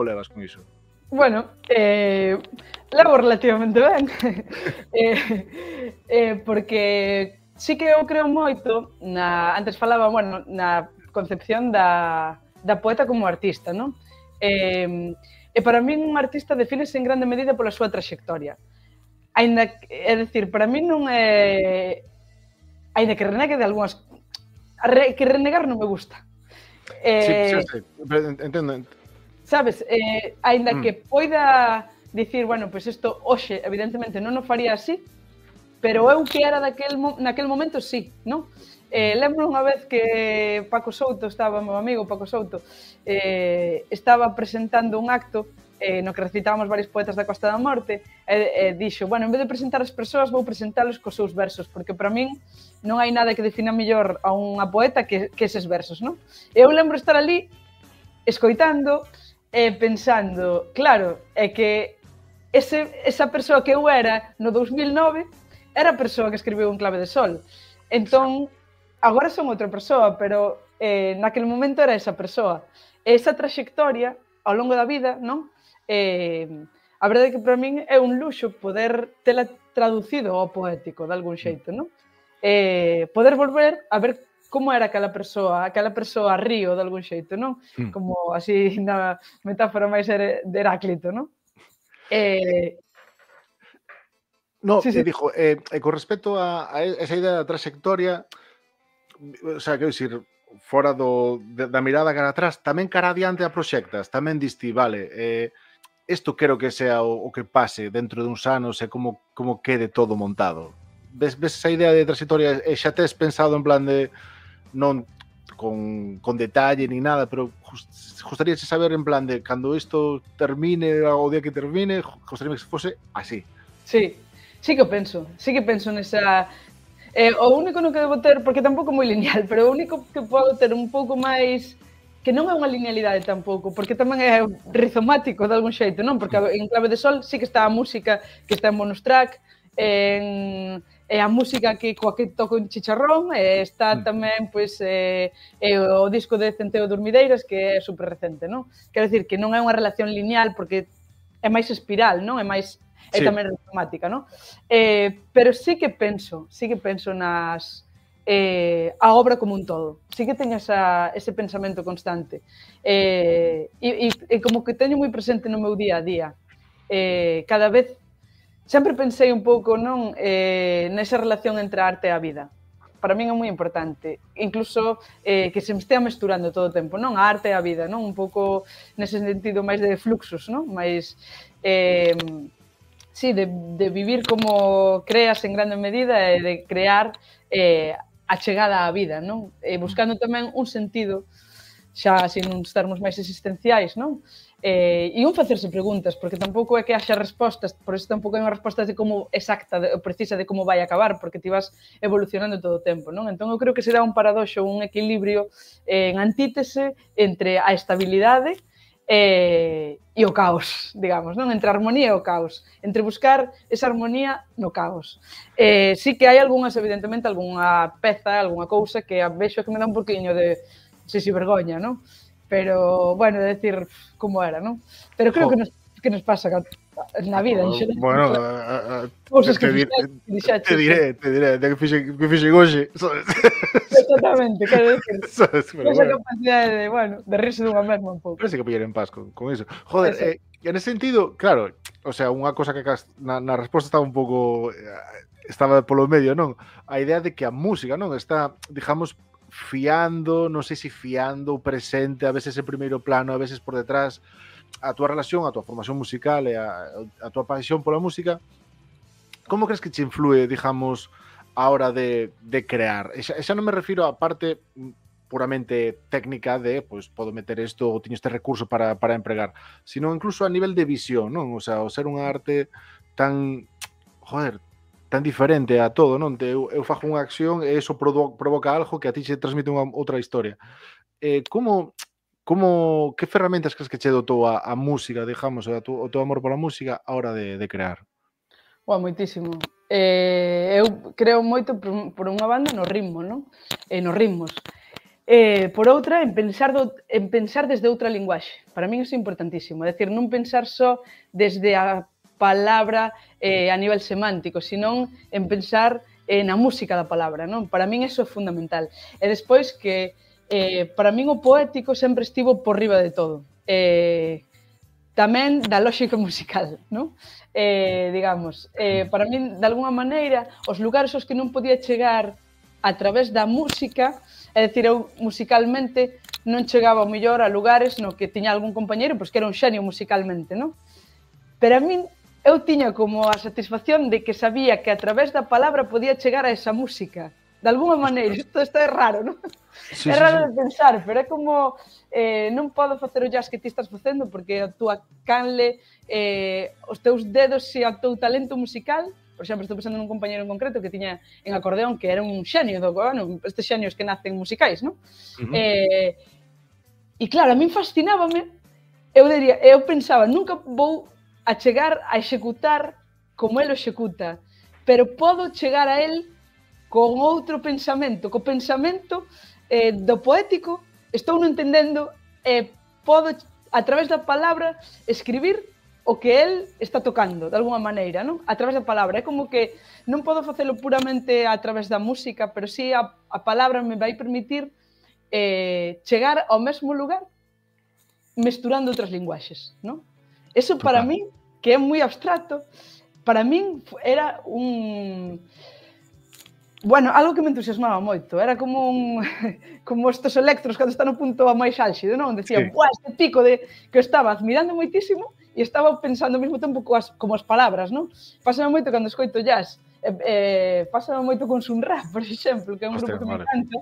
levas con iso? Bueno, levo relativamente ben, porque sí que eu creo moito, antes falaba, bueno, na concepción da poeta como artista, non? E para min un artista defínese en grande medida pola súa traxectoria. É dicir, para min non é... Ainda que renegue de algunhas... Que renegar non me gusta. Sí, entendo. Sabes, aínda que poida dicir, bueno, pois isto hoxe evidentemente non o faría así, pero eu que era naquel momento sí, non? Lembro unha vez que Paco Souto estaba, meu amigo Paco Souto, estaba presentando un acto no que recitábamos varios poetas da Costa da Morte e dixo, bueno, en vez de presentar as persoas vou presentalos cos seus versos, porque para min non hai nada que defina mellor a unha poeta que eses versos, non? Eu lembro estar ali escoitando e pensando, claro, é que esa persoa que eu era no 2009 era a persoa que escribiu En clave de sol. Entón, agora son outra persoa, pero naquele momento era esa persoa. Esa traxectoria ao longo da vida, non? A verdade é que para min é un luxo poder tela traducido ao poético de algún xeito, non? Poder volver a ver como era aquela persoa río de algún xeito, non? Como así na metáfora máis de Heráclito, non? No, sí. Dijo, con respecto a esa idea da trayectoria, o sea, quero dicir, fora da mirada cara atrás, tamén cara adiante a proxectas, tamén diste, vale, isto quero que sea o que pase dentro de uns anos e como quede todo montado. Ves esa idea de trayectoria e xa tes pensado en plan de non con detalle ni nada, pero gustaríase saber en plan de cando isto termine, o día que termine, gustaría que fose así. Sí que penso nesa... O único no que debo ter, porque tampouco é moi lineal, pero o único que podo ter un pouco máis... que non é unha linealidade tampouco, porque tamén é rizomático de algún xeito, non? Porque En clave de sol sí que está a música que está en bonus track, e a música coa que toco en Chicharrón, está tamén pois o disco de Centeo Durmideiras, que é super recente, non? Quero dicir que non é unha relación lineal porque é máis espiral, non? É tamén rizomática, non? Pero sí que penso a obra como un todo. Sí que teño ese pensamento constante. E como que teño moi presente no meu día a día. Cada vez sempre pensei un pouco, non, nesa relación entre a arte e a vida. Para min é moi importante. Incluso que se me estea mesturando todo o tempo, non? A arte e a vida, non? Un pouco nese sentido máis de fluxos, non? Máis, sí, de vivir como creas en grande medida e de crear a chegada á vida, non? Buscando tamén un sentido, xa sin uns termos máis existenciais, non? E un facerse preguntas, porque tampouco é que haxa respostas, por iso tampouco hai unha resposta de como exacta, precisa de como vai acabar, porque ti vas evolucionando todo o tempo, non? Entón, eu creo que será un paradoxo, un equilibrio en antítese entre a estabilidade e o caos, digamos, non? Entre a armonía e o caos, entre buscar esa armonía no caos. Sí que hai algunhas, evidentemente, algunha peza, algunha cousa que a vexo que me dá un poquinho de, sei se vergoña, non? Pero, bueno, decir como era, non? Pero creo que nos pasa na vida, en xeral. Bueno, cousas que fixaches. te diré, de que fixen hoxe, sabes? Exactamente, quero decir, Sabes, pero esa bueno. capacidade de, bueno, de rirse dunha mesma un pouco. Parece que pillar en paz con eso. Joder, en ese sentido, claro, o sea, unha cosa que na resposta estaba un pouco estaba polo medio, non? A idea de que a música, non, está, digamos, fiando, non sei se fiando ou presente, a veces en primeiro plano, a veces por detrás, a túa relación, a túa formación musical e a túa paixón pola música. Como crees que te influe, digamos, a hora de crear? E xa non me refiro á parte puramente técnica de, pois, podo meter isto ou teño este recurso para empregar, sino incluso a nivel de visión, non? O sea, o ser unha arte tan, joder, tan diferente a todo, non? Eu fago unha acción e eso provoca algo que a ti se transmite unha outra historia. Que ferramentas crees que che dotou a música, digamos, o teu amor pola música a hora de crear? Moitísimo. Eu creo moito por unha banda no ritmo, non? Nos ritmos. Por outra, en pensar desde outra linguaxe. Para min iso é importantísimo. É dicir, non pensar só desde a palabra a nivel semántico, senón en pensar na música da palabra, non? Para min iso é fundamental. E despois que para min o poético sempre estivo por riba de todo. Tamén da lógica musical, non? Digamos, para min, de alguna maneira, os lugares aos que non podía chegar a través da música, é dicir, eu musicalmente non chegaba ao mellor a lugares no que tiña algún compañeiro, pois que era un xenio musicalmente, non? Pero a min, eu tiña como a satisfacción de que sabía que a través da palabra podía chegar a esa música. De alguna maneira, isto é raro, non? Sí, é raro de pensar, pero é como non podo facer o jazz que ti estás facendo porque a túa canle, os teus dedos e o teu talento musical. Por exemplo, estou pensando nun compañeiro en concreto que tiña en acordeón, que era un xenio do bueno, estes xenios que nacen musicais, non? E claro, a min fascinábame, eu pensaba, nunca vou a chegar a executar como el o executa, pero podo chegar a el con outro pensamento, co pensamento do poético, estou non entendendo e podo, a través da palabra, escribir o que el está tocando, de alguma maneira, non? A través da palabra. É como que non podo facelo puramente a través da música, pero sí a palabra me vai permitir chegar ao mesmo lugar mesturando outras linguaxes, non? Eso para min, que é moi abstracto, para min era un... Bueno, algo que me entusiasmaba moito, era como estes electros cando están no punto máis álxido, non? Decían, buah, este pico de que eu estaba admirando moitísimo e estaba pensando ao mesmo tempo como as palabras, non? Pásame moito cando escoito jazz, pásame moito con Sun Ra, por exemplo, que é un grupo que me encanta,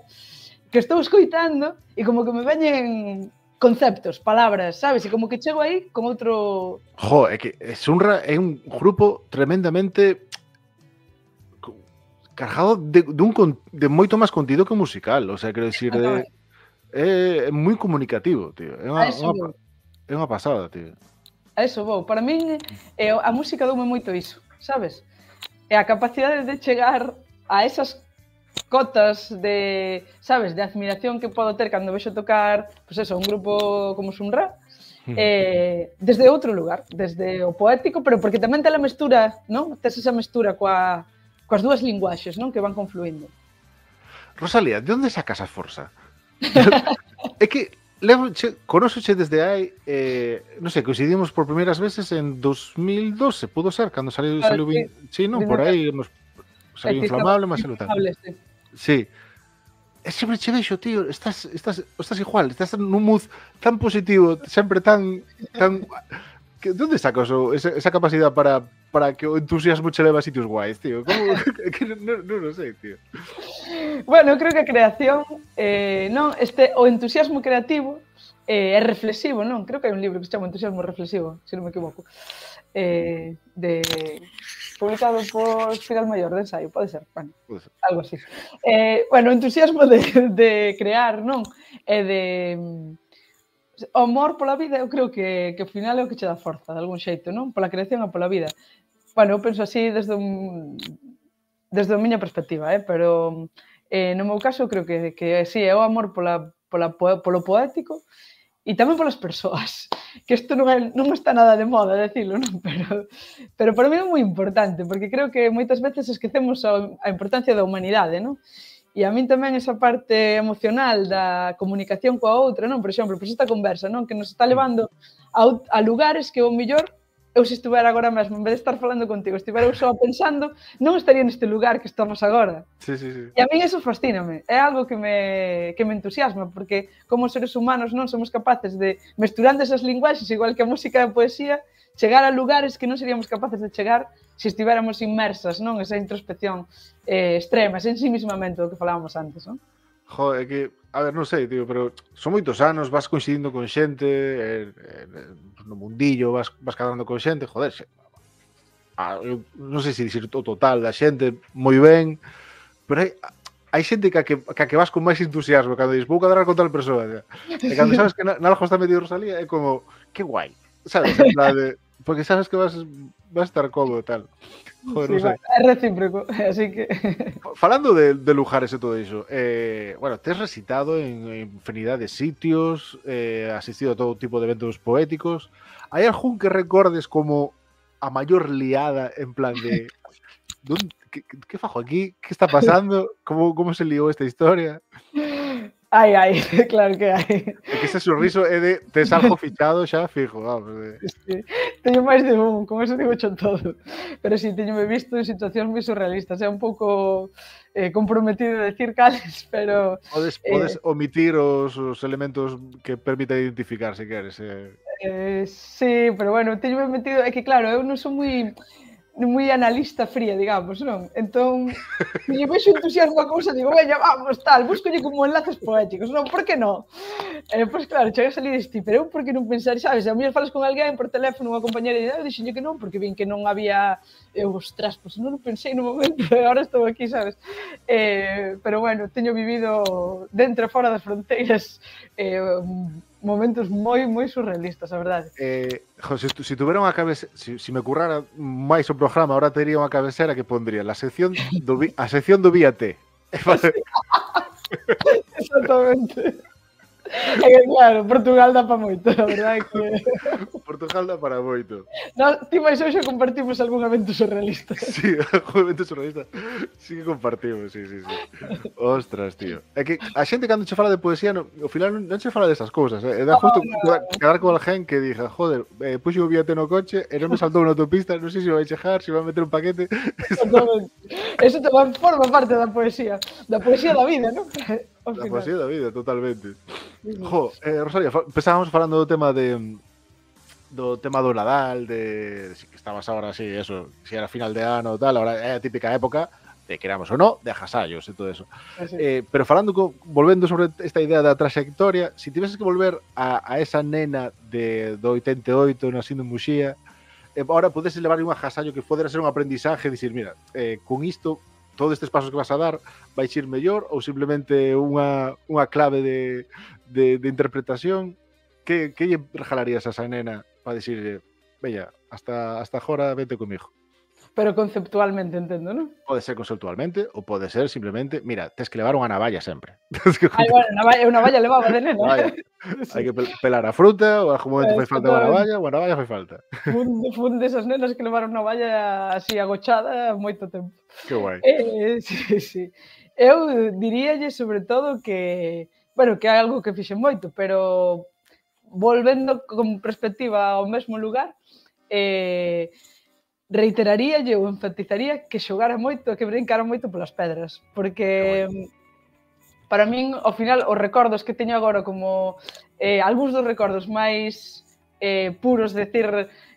que estou escoitando e como que me veñen conceptos, palabras, sabes? E como que chego aí con outro... Jo, é que Sun Ra é un grupo tremendamente... cargado de moito máis contido que musical, o sea, quero dicir, é moi comunicativo, tío. É unha pasada, tío. A eso vou. Para min, a música doume moito iso, sabes? É a capacidade de chegar a esas cotas de, sabes, de admiración que podo ter cando vexo tocar, pois eso, un grupo como Sun Ra, desde outro lugar, desde o poético, pero porque tamén te la mestura, non? Tes esa mestura coas dúas linguaxes, non? Que van confluindo. Rosalía, de onde sacas a forza? É que conóxoche desde hai, non sei, coincidimos por primeiras veces en 2012, pudo ser, cando saliu sí, non, por aí, saliu Inflamable, mas saliu tal. Sí. E sempre che vexo, tío, estás igual, estás nun mood tan positivo, sempre tan... De onde sacas esa capacidade para que o entusiasmo che leva a sitios guais, tío? Non o sei, tío. Bueno, creo que a creación, non, o entusiasmo creativo É reflexivo, non? Creo que hai un libro que se chama Entusiasmo reflexivo, se non me equivoco. Publicado por Espiral Mayor, de ensaio, pode ser, bueno, algo así. Bueno, o entusiasmo de crear, non? E de... O amor pola vida, eu creo que ao final é o que che dá forza, de algún xeito, non? Pola creación e pola vida. Bueno, eu penso así desde a miña perspectiva, pero no meu caso creo que sí, é o amor polo poético e tamén polas persoas, que isto non está nada de moda decirlo, non? Pero para mí é moi importante, porque creo que moitas veces esquecemos a importancia da humanidade, non? E a min tamén esa parte emocional da comunicación coa outra, non? Por exemplo, pois esta conversa, non? Que nos está levando a lugares que o mellor eu se estivera agora mesmo, en vez de estar falando contigo, estivera eu só pensando, non estaría neste lugar que estamos agora. Sí, sí, sí. E a min eso fascíname, é algo que me entusiasma, porque como seres humanos non somos capaces de, mesturando esas linguaxes, igual que a música e a poesía, chegar a lugares que non seríamos capaces de chegar se estiveramos inmersas, non? Esa introspección extrema, ese ensimismamento do que falábamos antes, non? Joder, é que, a ver, non sei, tío, pero son moitos anos, vas coincidindo con xente, no mundillo vas quedando con xente, joder, eu non sei se dicir o total da xente moi ben, pero hai xente que a que vas con máis entusiasmo, cando dices, vou cadrar con tal persoa, e cando sabes que nalgo está metido Rosalía, é como, que guai, sabes, en plan de, porque sabes que vas a estar cómodo e tal. Joder, sí, non sei. É recíproco, así que... Falando de lugares e todo iso, bueno, tes recitado en infinidade de sitios, asistido a todo tipo de eventos poéticos. Hai algún que recordes como a maior liada, en plan de... Que fajo aquí? Que está pasando? Como se liou esta historia? Ai, claro que hai. É que ese sorriso é de tes algo fichado xa fijo, vamos. Sí. Teño máis de un, con eso digo cho todo. Pero si, teñome visto en situacións moi surrealistas. É un pouco comprometido decir cales, pero... Podes omitir os elementos que permiten identificar, se queres. Sí, pero bueno, teñome metido... É que claro, eu non son moi analista fría, digamos, non? Entón, se lle vexo entusiasmo a cousa, digo, veña, vamos, tal, buscolle como enlaces poéticos, non? Por que non? Pois claro, chegas ali e diste, pero eu por que non pensar, sabes? A mellor falas con alguén por teléfono, unha compañera, e eu dixenlle que non, porque vin que non había... ostras, pois non o pensei no momento, e agora estou aquí, sabes? Pero bueno, teño vivido dentro e fora das fronteiras momentos moi surrealistas, a verdade. Se tuvera unha cabecera, se me currara máis o programa, ahora tería unha cabecera que pondría a sección do Víate. Exactamente. É que claro, Portugal dá para moito, a verdade que... Portugal dá para moito. Ti máis hoxe compartimos algún evento surrealista. Sí, algún evento surrealista. Sí que compartimos, sí. Ostras, tío. É que a xente cando che fala de poesía, ao final non che fala desas cousas. É da justo quedar con alguén que diga, joder, puxo o Víate no coche e non me saltou na autopista, non sei se vai chegar, se vai meter un paquete. Eso tamén forma parte da poesía da vida, non? Da poesía da vida, totalmente. Jo, Rosalía, empezábamos falando do tema do Nadal, de si que estabas ahora así, eso, si era final de ano ou tal, ahora é a típica época de queramos ou non, de agasallos e todo eso. Sí. Pero volvendo sobre esta idea da traxectoria, si tiveses que volver a esa nena do 88 nacindo en Muxía, ahora podeses levar un agasallo que podera ser un aprendizaje, dicir, mira, con isto todos estes pasos que vas a dar vais ir mellor ou simplemente unha clave de interpretación. Que lle regalarías a esa nena para dicirle, veña, hasta agora vete comigo? Pero conceptualmente, entendo, non? Pode ser conceptualmente ou pode ser simplemente, mira, tes que levar unha navalla sempre. Bueno, unha navalla levaba de nena. Hai que pelar a fruta, ou algún momento fai falta unha navalla fai falta. Fun desas nenas que levaron unha navalla así agochada moito tempo. Que guai. Sí. Eu diríalle sobre todo que, bueno, que é algo que fixen moito, pero volvendo con perspectiva ao mesmo lugar, reiteraríalle ou enfatizaría que xogara moito e que brincara moito polas pedras, porque para min, ao final, os recordos que teño agora como algúns dos recordos máis puros, decir,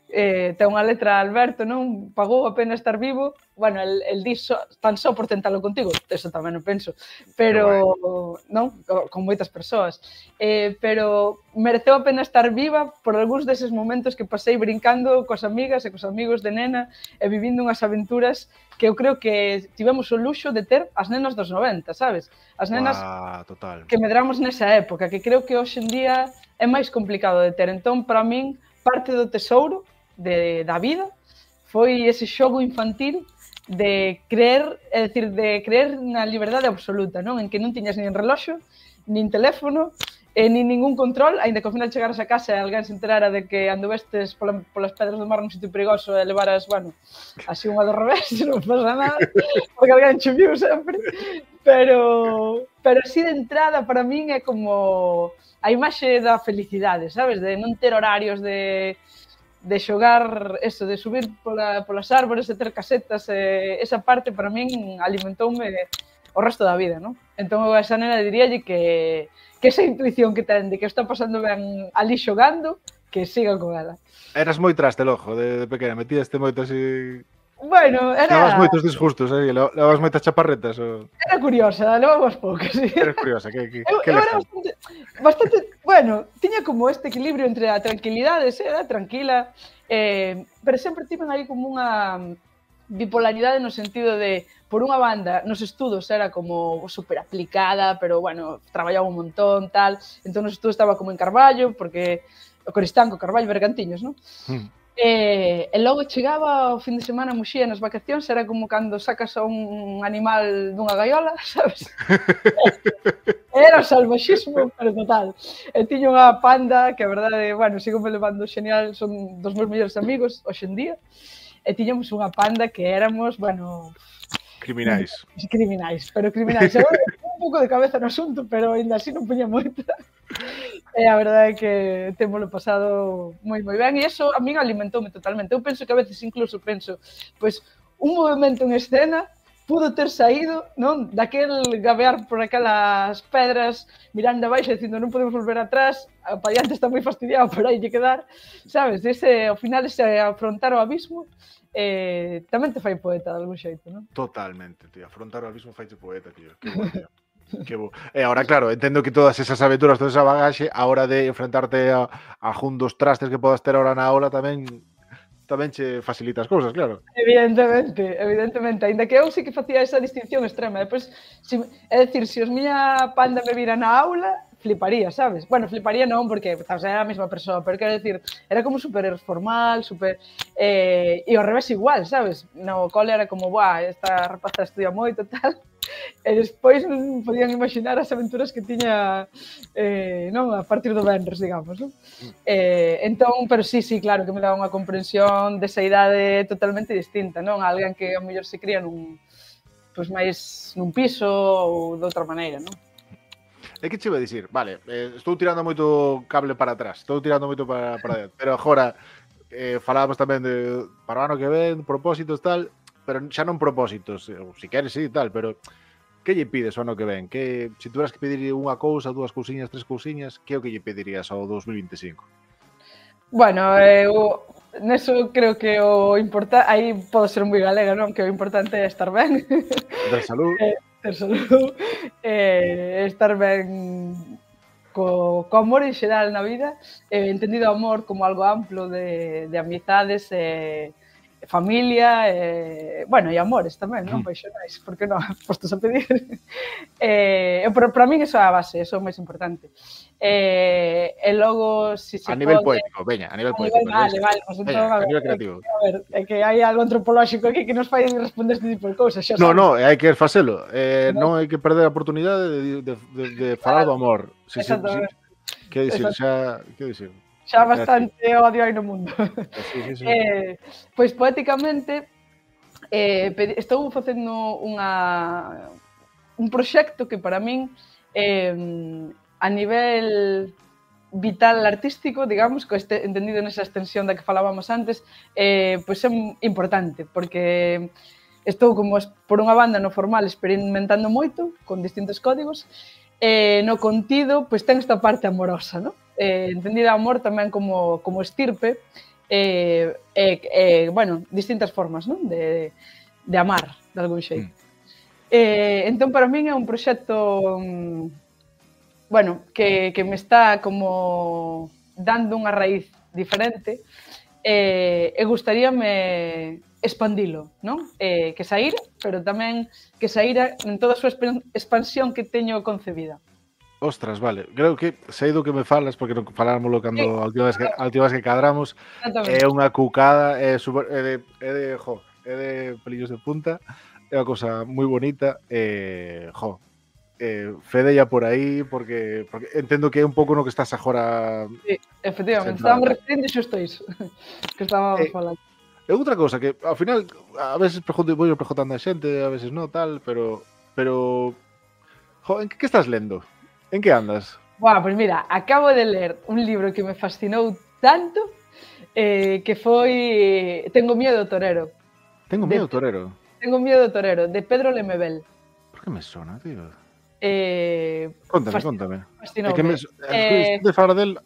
ten unha letra Alberto, non? Pagou a pena estar vivo. Bueno, el di tan só por tentalo contigo, eso tamén non penso, pero non, con moitas persoas. Pero mereceu a pena estar viva por algúns deses momentos que pasei brincando coas amigas e cos amigos de nena e vivindo unhas aventuras que eu creo que tivemos o luxo de ter as nenas dos 90, sabes? As nenas total. Que medramos nesa época, que creo que hoxe en día é máis complicado de ter. Entón, para min, parte do tesouro da vida foi ese xogo infantil de creer, é dicir, de creer na liberdade absoluta, non? En que non tiñas nin reloxo, nin teléfono, nin ningún control, aínda que ao final chegaras a casa e alguén se enterara de que anduvestes polas pedras do mar nun sitio perigoso e levaras, bueno, así unha do revés, non pasa nada, porque alguén che viu sempre, pero así de entrada para min é como a imaxe da felicidade, sabes? De non ter horarios de xogar, eso, de subir polas árbores, de ter casetas, esa parte para min alimentoume o resto da vida, non? Entón, eu a esa nena diríalle que esa intuición que ten de que está pasando ben ali xogando, que siga con ela. Eras moi traste, lojo, de pequena, metíaste moito así... Bueno, era... Levabas moitos disgustos, levabas moitas chaparretas, ou... Era curiosa, levabas poucas, sí. Eres curiosa, que era bastante... Bueno, tiña como este equilibrio entre a tranquilidade, era tranquila, pero sempre tiven aí como unha bipolaridade no sentido de, por unha banda, nos estudos era como super aplicada, pero, bueno, traballaba un montón, tal, entón nos estudos estaba como en Carballo, porque o Coristanco, Carballo, Bergantiños, non? E logo chegaba o fin de semana a Muxía nas vacacións, era como cando sacas a un animal dunha gaiola, sabes? Era o salvaxismo, pero total. E tiño unha panda que, a verdade, bueno, sigo me levando xenial, son dos meus mellores amigos hoxe en día, e tiñamos unha panda que éramos, bueno... Criminais. Pero criminais. Agora, un pouco de cabeza no asunto, pero ainda así non puña moita. E a verdade é que témolo pasado moi ben, e iso a min alimentoume totalmente. Eu penso que a veces incluso penso, pois, un movimento en escena pudo ter saído, non, daquel gabear por aquelas pedras mirando abaixo dicindo non podemos volver atrás, o padiante está moi fastidiado, pero hai que quedar, sabes? Ao final ese afrontar o abismo tamén te fai poeta de algún xeito, non? Totalmente, tío. Afrontar o abismo faiche poeta, tío. Que bo, tío. Que bo. E agora, claro, entendo que todas esas aventuras, toda esa bagaxe, a hora de enfrentarte a juntos trastes que podas ter ahora na aula tamén che facilita as cousas, claro. Evidentemente, aínda que eu sí que facía esa distinción extrema. Depois, é dicir, se os miña panda me vira na aula, fliparía, sabes? Bueno, fliparía non, porque era a mesma persoa, pero quero dicir, era como super formal, super... E ao revés igual, sabes? No cole era como, buah, esta rapaza estudia moito, tal... E despois non podían imaginar as aventuras que tiña non a partir do venres, digamos, non? Entón, pero sí, claro, que me daba unha comprensión desa idade totalmente distinta, non? A alguén que a mellor se cría pois máis nun piso ou de outra maneira, non? É que che iba a dicir, vale, estou tirando moito cable para atrás, estou tirando moito para adiante, pero agora falábamos tamén de para o ano que ven, propósitos tal, pero xa non propósitos, se queres sí tal, pero que lle pides ao ano que ven? Que se tuveras que pedir unha cousa, dúas cousiñas, tres cousiñas, que é o que lle pedirías ao 2025? Bueno, neso creo que o importante, aí podo ser moi galega, non? Que o importante é estar ben. Ter salud. Ter salud, estar ben co amor en xeral na vida, entendido amor como algo amplo de amizades, familia, bueno, e amores tamén, non? Paixonais, por que non? Postos a pedir. Para min iso é a base, iso é o máis importante. E logo, se a nivel poético, veña, a nivel poético. Vale, pues entón, a nivel creativo. A ver, é que hai algo antropolóxico aquí que nos fai responder este tipo de cousas, xa No, sabes. hai que facelo. Non hai que perder a oportunidade de falar do amor. Que dicir? Xa bastante odio hai no mundo. Sí. Pois poéticamente estou facendo un proxecto que para min a nivel vital artístico, digamos, entendido nesa extensión da que falábamos antes, pois é importante, porque estou como por unha banda no formal experimentando moito con distintos códigos, no contido, pois ten esta parte amorosa, non? Entendida amor tamén como estirpe, bueno, distintas formas, non? De amar, de algún xeito. Entón, para min é un proxecto bueno, que me está como dando unha raíz diferente e gustaríame expandilo, non? Que saíra, pero tamén que saíra en toda a súa expansión que teño concebida. Ostras, vale. Creo que sei do que me falas, porque non falármoslo cando Sí, a última vez que cadramos. É unha cucada, é de pelillos de punta, é unha cousa moi bonita, fedella por aí, porque entendo que é un pouco no que estás agora Sí, efectivamente, centrada. estábamos referindo xusto iso que estábamos falando. É outra cousa que, ao final, a veces vou preguntando a xente, a veces non, tal, pero en que estás lendo? En que andas? Buah, pois mira, acabo de ler un libro que me fascinou tanto que foi Tengo miedo, torero. Tengo miedo, torero. Tengo miedo, torero, de Pedro Lemebel. Por que me sona, tío? Contame. Fascinoume. É que de falar del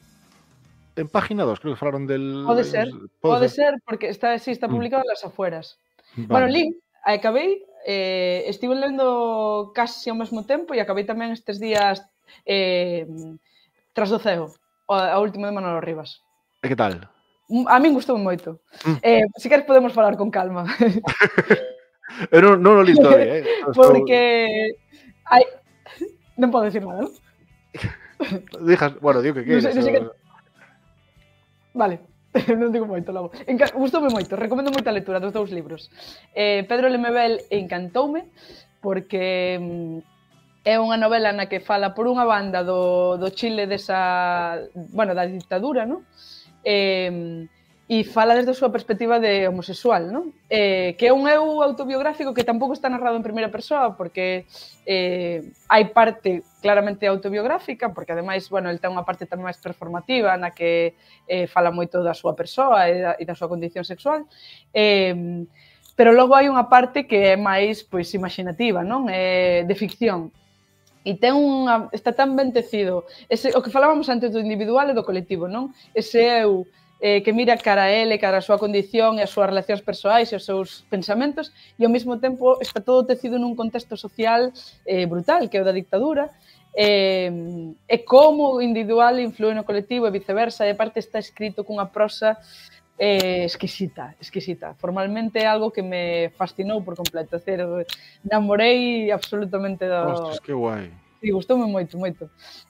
en página 2, creo que falaron del... Pode ser, porque está publicado en Las Afueras. Vale. Bueno, lin, acabei, estive lendo casi ao mesmo tempo e acabei tamén estes días Tras do ceo, a última de Manolo Rivas. E que tal? A min gustoume moito. Se queres podemos falar con calma. Eu non o li todavía, Porque non podo decir nada, non? Bueno, digo que queres. Vale, non digo moito logo. Gustoume moito, recomendo moito a lectura dos dous libros. Pedro Lemebel encantoume porque é unha novela na que fala por unha banda do Chile da ditadura, non? E fala desde a súa perspectiva de homosexual, non? Que é un eu autobiográfico que tampouco está narrado en primeira persoa, porque hai parte claramente autobiográfica, porque ademais, bueno, el ten unha parte tamén máis performativa na que fala moito da súa persoa e da súa condición sexual, pero logo hai unha parte que é máis, pois, imaginativa, non? De ficción. E está tan ben tecido, o que falábamos antes do individual e do colectivo, non? Ese eu que mira cara a ele, cara a súa condición e as súas relacións persoais e os seus pensamentos, e ao mesmo tempo está todo tecido nun contexto social brutal, que é o da dictadura, e como o individual influe no colectivo e viceversa, e parte está escrito cunha prosa exquisita. Formalmente é algo que me fascinou por completo, é dicir, namorei absolutamente do... Ostras, que guai. Sí, gustoume moito.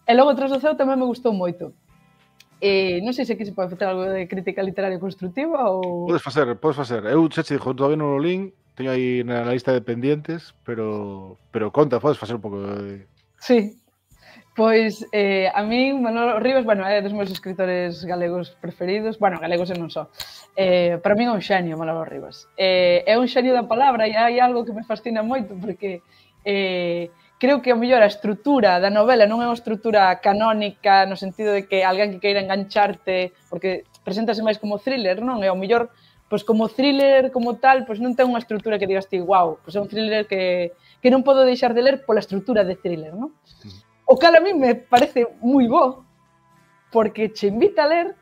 E logo Tras do ceo tamén me gustou moito. Non sei se aquí se pode facer algo de crítica literaria constructiva ou... Podes facer. Eu xa che dixo, todavía non o lin, teño aí na lista de pendientes, pero conta, podes facer un pouco de... Sí. Pois a mí Manolo Rivas, bueno, é dos meus escritores galegos preferidos, bueno, galegos e non só. Para mí é un xenio Manolo Rivas. É un xenio da palabra e hai algo que me fascina moito porque creo que ao mellor a estrutura da novela non é unha estrutura canónica no sentido de que alguén que queira engancharte, porque preséntase máis como thriller, non? E ao mellor, pois como thriller como tal, pois non ten unha estrutura que digas ti, wow, pois é un thriller que non podo deixar de ler pola estrutura de thriller, non? O cal a mí me parece moi bo, porque che invita a ler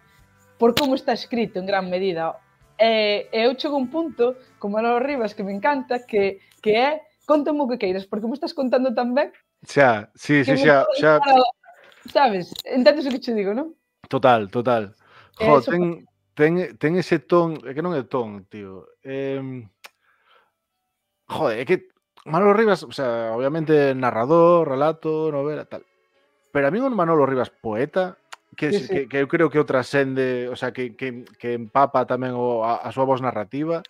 por como está escrito en gran medida. E eu chego a un punto, como Manolo Rivas, que me encanta, que é contame o que queiras, porque me estás contando tan ben. Xa. Sabes? Entendes o que che digo, non? Total. Jo, ten ese ton, é que non é ton, tío. Joder, é que Manolo Rivas, o sea, obviamente narrador, relato, novela, tal. Pero a mí un Manolo Rivas poeta, que eu creo que o trascende, o sea, que empapa tamén a súa voz narrativa.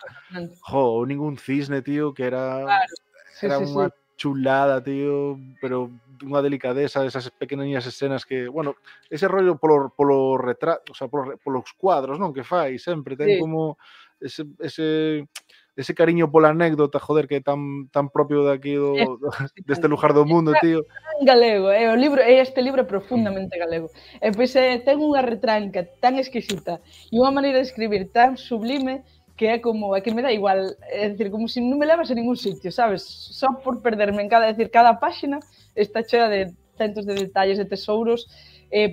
Jo, ningún cisne, tío, que era... Claro. Era unha chulada, tío, pero unha delicadeza, esas pequeniñas escenas que, bueno, ese rollo polo retrato, o sea, polos cuadros, non, que fai sempre, ten como ese cariño pola anécdota, joder, que é tan propio de aquí deste lugar do mundo, tío. En galego, este libro é profundamente galego. E pois ten unha retranca tan exquisita e unha maneira de escribir tan sublime que é como, é que me dá igual, é dicir, como se non me levas a ningún sitio, sabes? Só por perderme en cada páxina está chea de centos de detalles, de tesouros,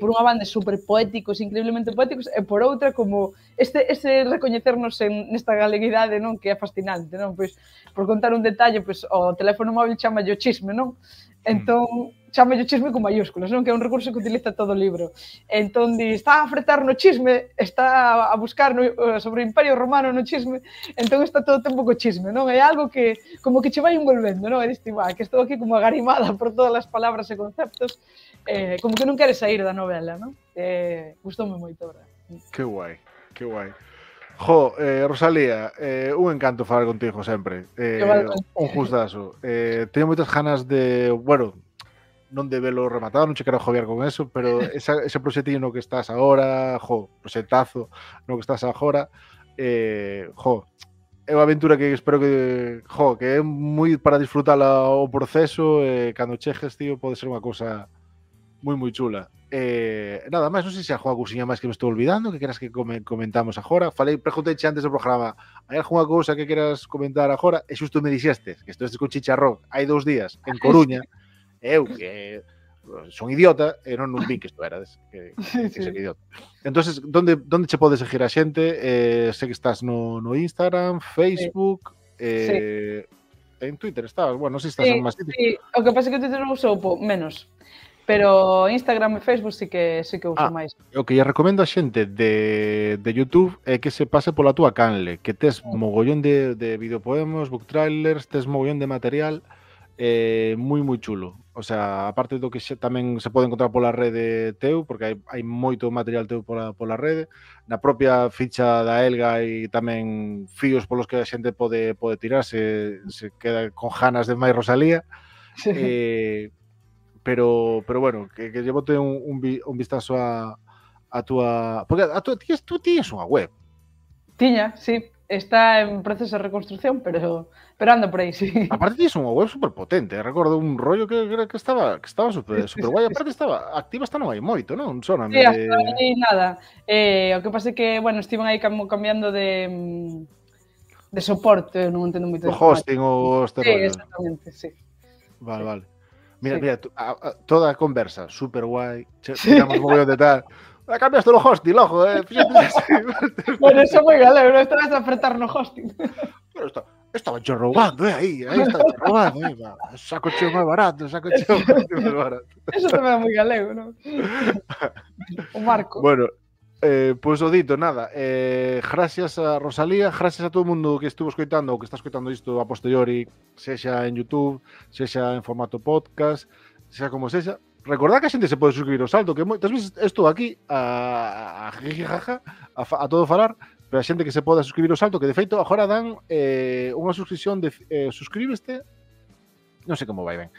por unha banda super poéticos, increíblemente poéticos, e por outra como ese recoñecernos nesta galeguidade, non, que é fascinante, non? Pois, por contar un detalle, pois, o teléfono móvil chama o chisme, non? Entón, chama o chisme con mayúsculas, non? Que é un recurso que utiliza todo o libro. Entón, está a fretar no chisme, está a buscar sobre o Imperio Romano no chisme, entón está todo o tempo co chisme, non? É algo que, como que che vai envolvendo, non? E diste, que estou aquí como agarimada por todas as palabras e conceptos, como que non queres sair da novela, non? Gustoume moito, verdad? Que guai, que guai. Jo, Rosalía, un encanto falar contigo sempre. Un gustazo. Teño moitas ganas de, bueno, non de velo rematado, non che quero joviar con eso, pero ese proxectillo no que estás agora, proxectazo no que estás agora, é unha aventura que espero que é moi para disfrutala o proceso, cando chejes, tío, pode ser unha cousa moi chula. Nada máis, non sei se a cousiña máis que me estou olvidando, que queras que comentamos agora. Preguntei antes do programa, hai algunha cousa que queras comentar agora? E xusto me dixestes que estou con Chicharrón hai 2 días en Coruña, e eu que son idiota e non vi que isto erades, que ser idiota. Entonces, donde che pode seguir a xente? Sei que estás no Instagram, Facebook, en Twitter estabas, bueno, non sei se estás en máis sitios. Sí, o que pasa é que o Twitter non uso menos. Pero Instagram e Facebook sí que uso máis. O que lle recomendo a xente de YouTube é que se pase pola túa canle, que tes mogollón de videopoemos, book trailers, tes mogollón de material moi chulo. O sea, aparte do que tamén se pode encontrar pola rede teu, porque hai moito material teu pola rede, na propia ficha da Elga hai tamén fíos polos que a xente pode tirar se queda con ganas de máis Rosalía. Pero bueno, que lle bote un vistazo a túa... Porque tú tienes unha web. Tiña, sí. Está en proceso de reconstrucción, pero anda por aí, sí. Aparte tienes unha web super potente. Recordo un rollo que estaba super guai. Aparte estaba activa, non hai moito, non? Sí, hasta aí nada. O que pasa é que, bueno, estiven aí cambiando de soporte, non entendo moito. O hosting ou este rollo. Sí, exactamente, sí. Vale. Mira, toda a conversa, super guai, tiramos mogollón de tal. Cambiaste o hosting, lojo, Bueno, eso é moi galego, non estabas a apretar no hosting. Pero estaba yo rogando, aí estaba yo rogando, saco cheo máis barato, máis barato. Eso tamén é moi galego, non? O Marco. Bueno, pois o dito, nada, gracias a Rosalía, gracias a todo o mundo que estuvo escoitando ou que está escoitando isto a posteriori, sexa en YouTube, sexa en formato podcast, sexa como sexa. Recordad que a xente se pode suscribir ao Salto, que moitas veces estou aquí a todo falar, pero a xente que se pode suscribir ao Salto, que de feito agora dan unha suscripción de suscríbeste, non sei como vai ben,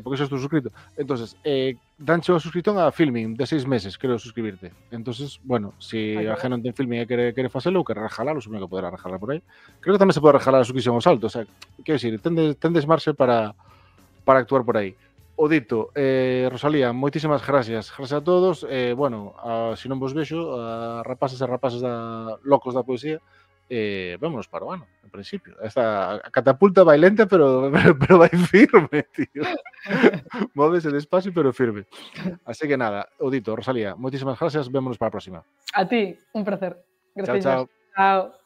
porque xa estou suscrito. Entonces, danche unha suscripción a Filming de 6 meses, creo, suscribirte. Entonces, bueno, se a gente non ten Filming e quere facelo ou quere rejalalo, supoño que poderá rejalar por aí. Creo que tamén se pode rejalar a suscripción ao Salto, o sea, quero dicir, tendes marxe para actuar por aí. O dito, Rosalía, moitísimas gracias. Gracias a todos. Bueno, se non vos vexo, rapaces e rapaces locos da poesía, vámonos para o ano, en principio. Esta catapulta vai lenta, pero vai firme, tío. Móvese despacio, pero firme. Así que nada, o dito, Rosalía, moitísimas gracias. Vémonos para a próxima. A ti, un placer. Gracias. Chao. Chao.